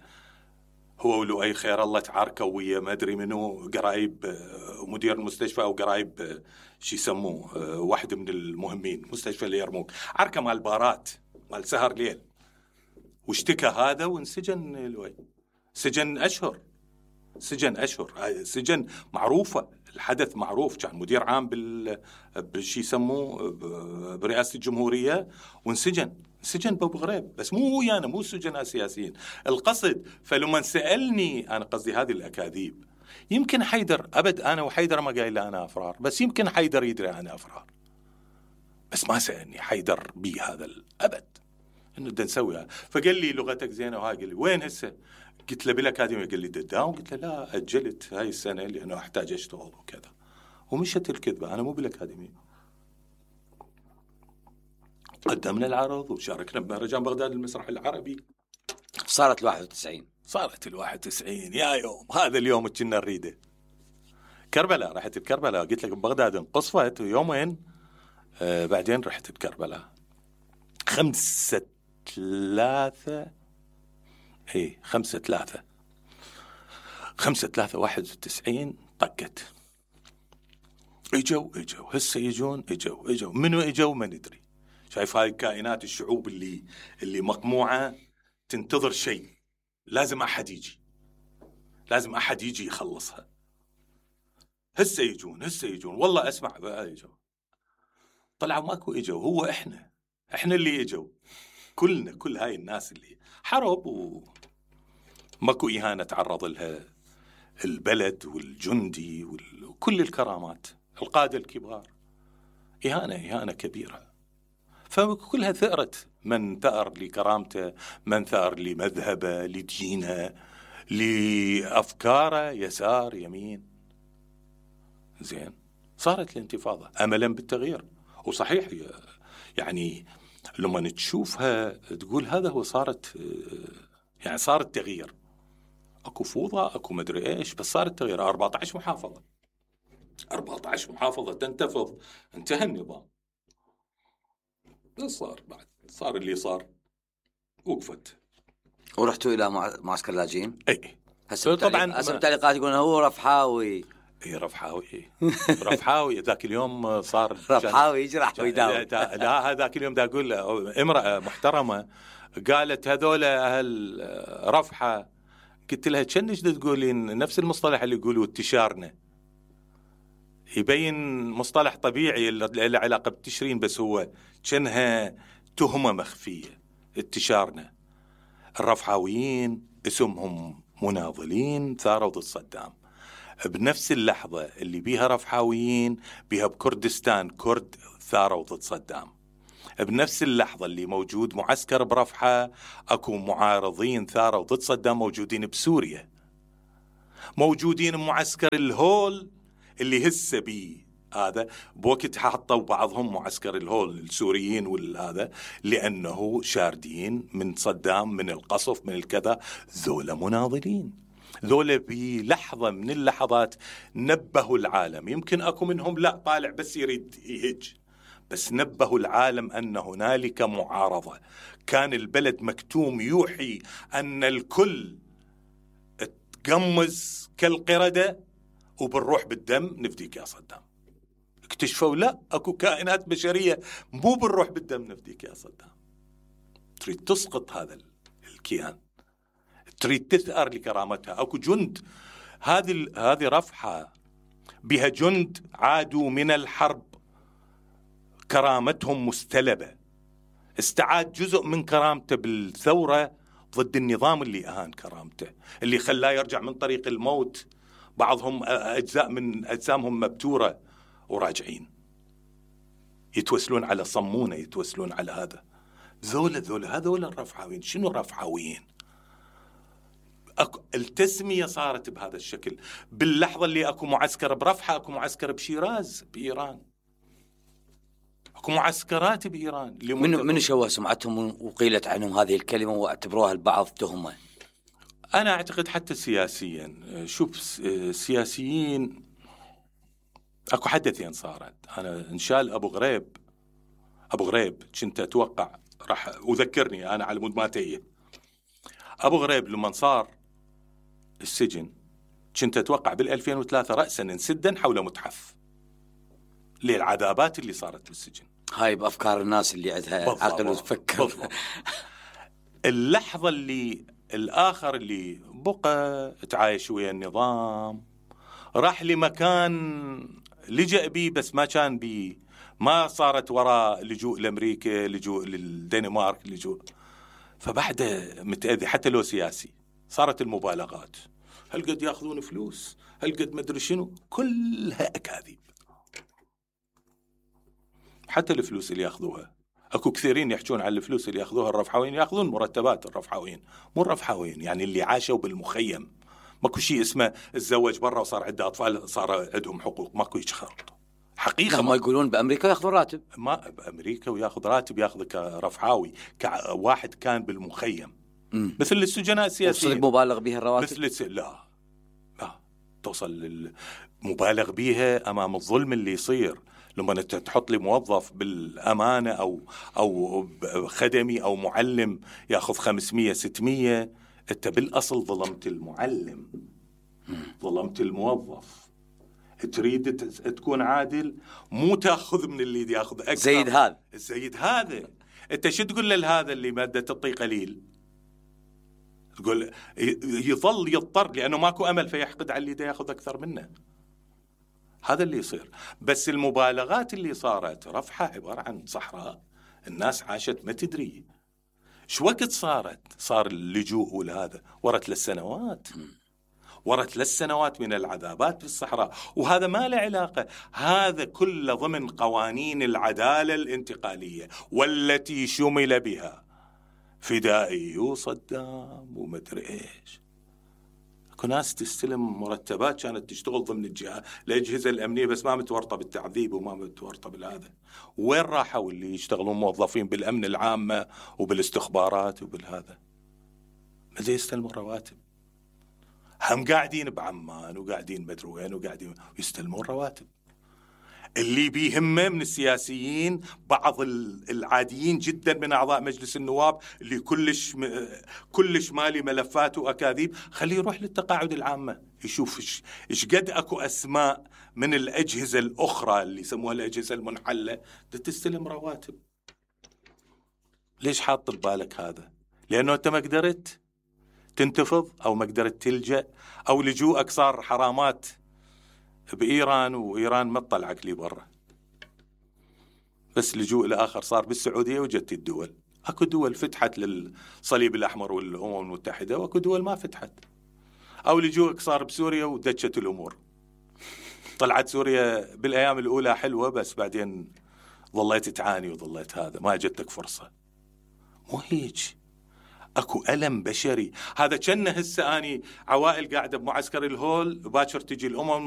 S1: هو ولؤي خير الله تعاركوا ويا ما ادري منو قرايب مدير المستشفى او قرايب شو يسموه، واحد من المهمين مستشفى اليرموك، عركه مال بارات مال سهر ليل، واشتكى هذا وانسجن لؤي. سجن اشهر، سجن معروفه، الحدث معروف، كان مدير عام بالشي يسموه برئاسه الجمهوريه، وانسجن بابو غريب، بس مو ويانا، مو سجناء سياسيين القصد. فلما سألني أنا قصدي هذه الأكاذيب، يمكن حيدر أبد، أنا وحيدر ما قايل أنا أفرار، بس يمكن حيدر يدري أنا أفرار، بس ما سألني حيدر بي هذا الأبد إنه بدنا نسويها. فقال لي لغتك زينة، وهاي قال لي وين هسه؟ قلت له بالأكاديمية. قال لي داون. قلت له لا، أجلت هاي السنة لأنه أحتاج أشتغل وكذا، ومشت الكذبة، أنا مو بالأكاديمية. قدمنا العرض وشاركنا بمهرجان بغداد المسرح العربي.
S2: صارت 91.
S1: صارت 91 يا يوم، هذا اليوم كنا نريده. كربلاء، رحت الكربلاء، قلت لك بغداد انقصفت يومين، بعدين رحت الكربلاء 5/3 5/3/91 طقت. اجوا هسه يجون، اجوا منو اجوا ما ندري. شايف هاي الكائنات، الشعوب اللي مقموعة تنتظر شيء، لازم أحد يجي يخلصها. هسه يجون والله أسمع بقى يجوا، طلعوا ماكو اجوا، هو احنا اللي اجوا كلنا، كل هاي الناس اللي حرب وماكو إهانة تعرض لها البلد والجندي وكل الكرامات، القادة الكبار، إهانة كبيرة. فكلها ثأرت، من ثأر لكرامته، من ثأر لمذهبه، لدينه، لأفكاره، يسار يمين. زين، صارت الانتفاضة أملا بالتغيير. وصحيح يعني لما تشوفها تقول هذا هو، صارت يعني صار التغيير، اكو فوضى، اكو مدري ايش، بس صار التغيير. 14 محافظة تنتفض، انتهى النظام. بس صار اللي صار، وقفت.
S2: ورحتوا الى معسكر اللاجئين؟
S1: اي
S2: طبعا هسه التعليقات يقولون هو رفحاوي.
S1: اي رفحاوي ذاك اليوم صار
S2: رفحاوي يجرح ويداوم.
S1: لا هذاك اليوم دا اقول امرأة محترمة قالت هذول اهل رفحة، قلت لها كنش تقولين نفس المصطلح اللي يقولوا انتشارنا، يبين مصطلح طبيعي له علاقة بالتشرين، بس هو كأنها تهمة مخفية. انتشارنا، الرفحاويين اسمهم مناضلين ثاروا ضد صدام، بنفس اللحظة اللي بيها رفحاويين بيها بكردستان كرد ثاروا ضد صدام. بنفس اللحظة اللي موجود معسكر برفحة أكو معارضين ثاروا ضد صدام موجودين بسوريا، موجودين بمعسكر الهول اللي هسه بيه هذا بوقت حطوا بعضهم معسكر الهول السوريين والهذا لأنه شاردين من صدام من القصف من الكذا. ذولا مناضلين، ذولا بلحظة من اللحظات نبهوا العالم. يمكن أكو منهم لا طالع بس يريد يهج، بس نبهوا العالم أن هنالك معارضة. كان البلد مكتوم يوحي أن الكل تقمز كالقردة وبالروح بالدم نفديك يا صدام. اكتشفوا لا أكو كائنات بشرية مو بالروح بالدم نفديك يا صدام. تريد تسقط هذا الكيان، تريد تثأر لكرامتها. أكو جند، هذه رفحة بها جند عادوا من الحرب كرامتهم مستلبة. استعاد جزء من كرامته بالثورة ضد النظام اللي أهان كرامته، اللي خلاه يرجع من طريق الموت. بعضهم أجزاء من أجسامهم مبتورة وراجعين يتوسلون على صمونة، يتوسلون على هذا. هذول الرفحاويين. شنو الرفحاويين؟ التسمية صارت بهذا الشكل. باللحظة اللي أكو معسكر برفحة أكو معسكر بشيراز بإيران، أكو معسكرات بإيران.
S2: من شوه سمعتهم وقيلت عنهم هذه الكلمة واعتبروها البعض تهمة؟
S1: أنا أعتقد حتى سياسيا، شوف سياسيين أكو حدثين صارت. أنا انشال أبو غريب كنت أتوقع راح أذكرني أنا على مود ما تيه. أبو غريب لما صار السجن كنت أتوقع بال2003 رأسا انسدا حول متحف للعذابات اللي صارت بالسجن.
S2: هاي بأفكار الناس اللي عندها عقل وتفكر.
S1: اللحظة اللي الآخر اللي بقى تعايش ويا النظام راح لمكان لجأ بيه بس ما كان بيه، ما صارت وراء لجوء لأمريكا، لجوء للدنمارك، لجوء. فبعد متأذي حتى لو سياسي. صارت المبالغات، هل قد يأخذون فلوس، هل قد مدري شنو، كلها أكاذيب. حتى الفلوس اللي يأخذوها أكو كثيرين يحجون على الفلوس اللي يأخذوها الرفحاويين، يأخذون مرتبات الرفحاويين، مو الرفحاويين يعني اللي عاشوا بالمخيم. ماكو شيء اسمه الزوج برا وصار عنده أطفال صار عندهم حقوق، ماكو يشخرط حقيقة.
S2: ما يقولون بأمريكا يأخذون راتب،
S1: ما بأمريكا ويأخذ راتب، يأخذ كرفحاوي كواحد كان بالمخيم. مثل السجناء السياسيين.
S2: وصل مبالغ بها الرواتب؟
S1: لا توصل مبالغ بها أمام الظلم اللي يصير. لما انت تحط لي موظف بالامانه او خدمي او معلم ياخذ 500 600، انت بالاصل ظلمت المعلم، ظلمت الموظف. تريد تكون عادل، مو تاخذ من اللي ياخذ اكثر. زيد هذا انت شو تقول لهذا اللي ماده تعطيه قليل؟ تقول يظل يضطر لانه ماكو امل فيحقد على اللي ياخذ اكثر منه. هذا اللي يصير. بس المبالغات اللي صارت رفحة عبارة عن صحراء الناس عاشت ما تدري شو وقت صار اللجوء والهذا ورا 3 سنوات، ورا 3 سنوات من العذابات في الصحراء. وهذا ما له علاقة، هذا كله ضمن قوانين العدالة الانتقالية والتي شمل بها فدائي وصدام ومدري ايش. ناس تستلم مرتبات كانت تشتغل ضمن الأجهزة الأمنية بس ما متورطة بالتعذيب وما متورطة بالهذا. وين راحوا اللي يشتغلون موظفين بالأمن العامة وبالاستخبارات وبالهذا؟ ماذا يستلمون رواتب؟ هم قاعدين بعمان وقاعدين مدري وين وقاعدين يستلمون رواتب. اللي بيهمه من السياسيين بعض العاديين جدا من أعضاء مجلس النواب اللي كلش مالي ملفات وأكاذيب، خليه يروح للتقاعد العامة يشوف إيش قد أكو أسماء من الأجهزة الأخرى اللي يسموها الأجهزة المنحلة تستلم رواتب. ليش حاط ببالك هذا؟ لأنه أنت ما قدرت تنتفض أو ما قدرت تلجأ أو لجوءك صار حرامات بإيران وإيران ما تطلعك لي برا. بس لجوء الآخر صار بالسعودية وجدت الدول. أكو دول فتحت للصليب الأحمر والأمم المتحدة وأكو دول ما فتحت. أو لجوءك صار بسوريا ودجت الأمور طلعت سوريا بالايام الاولى حلوه، بس بعدين ظليت تعاني وظليت هذا، ما اجتك فرصه. مو هيج، اكو الم بشري. هذا كأنه هسه اني عوائل قاعده بمعسكر الهول، باكر تجي الامم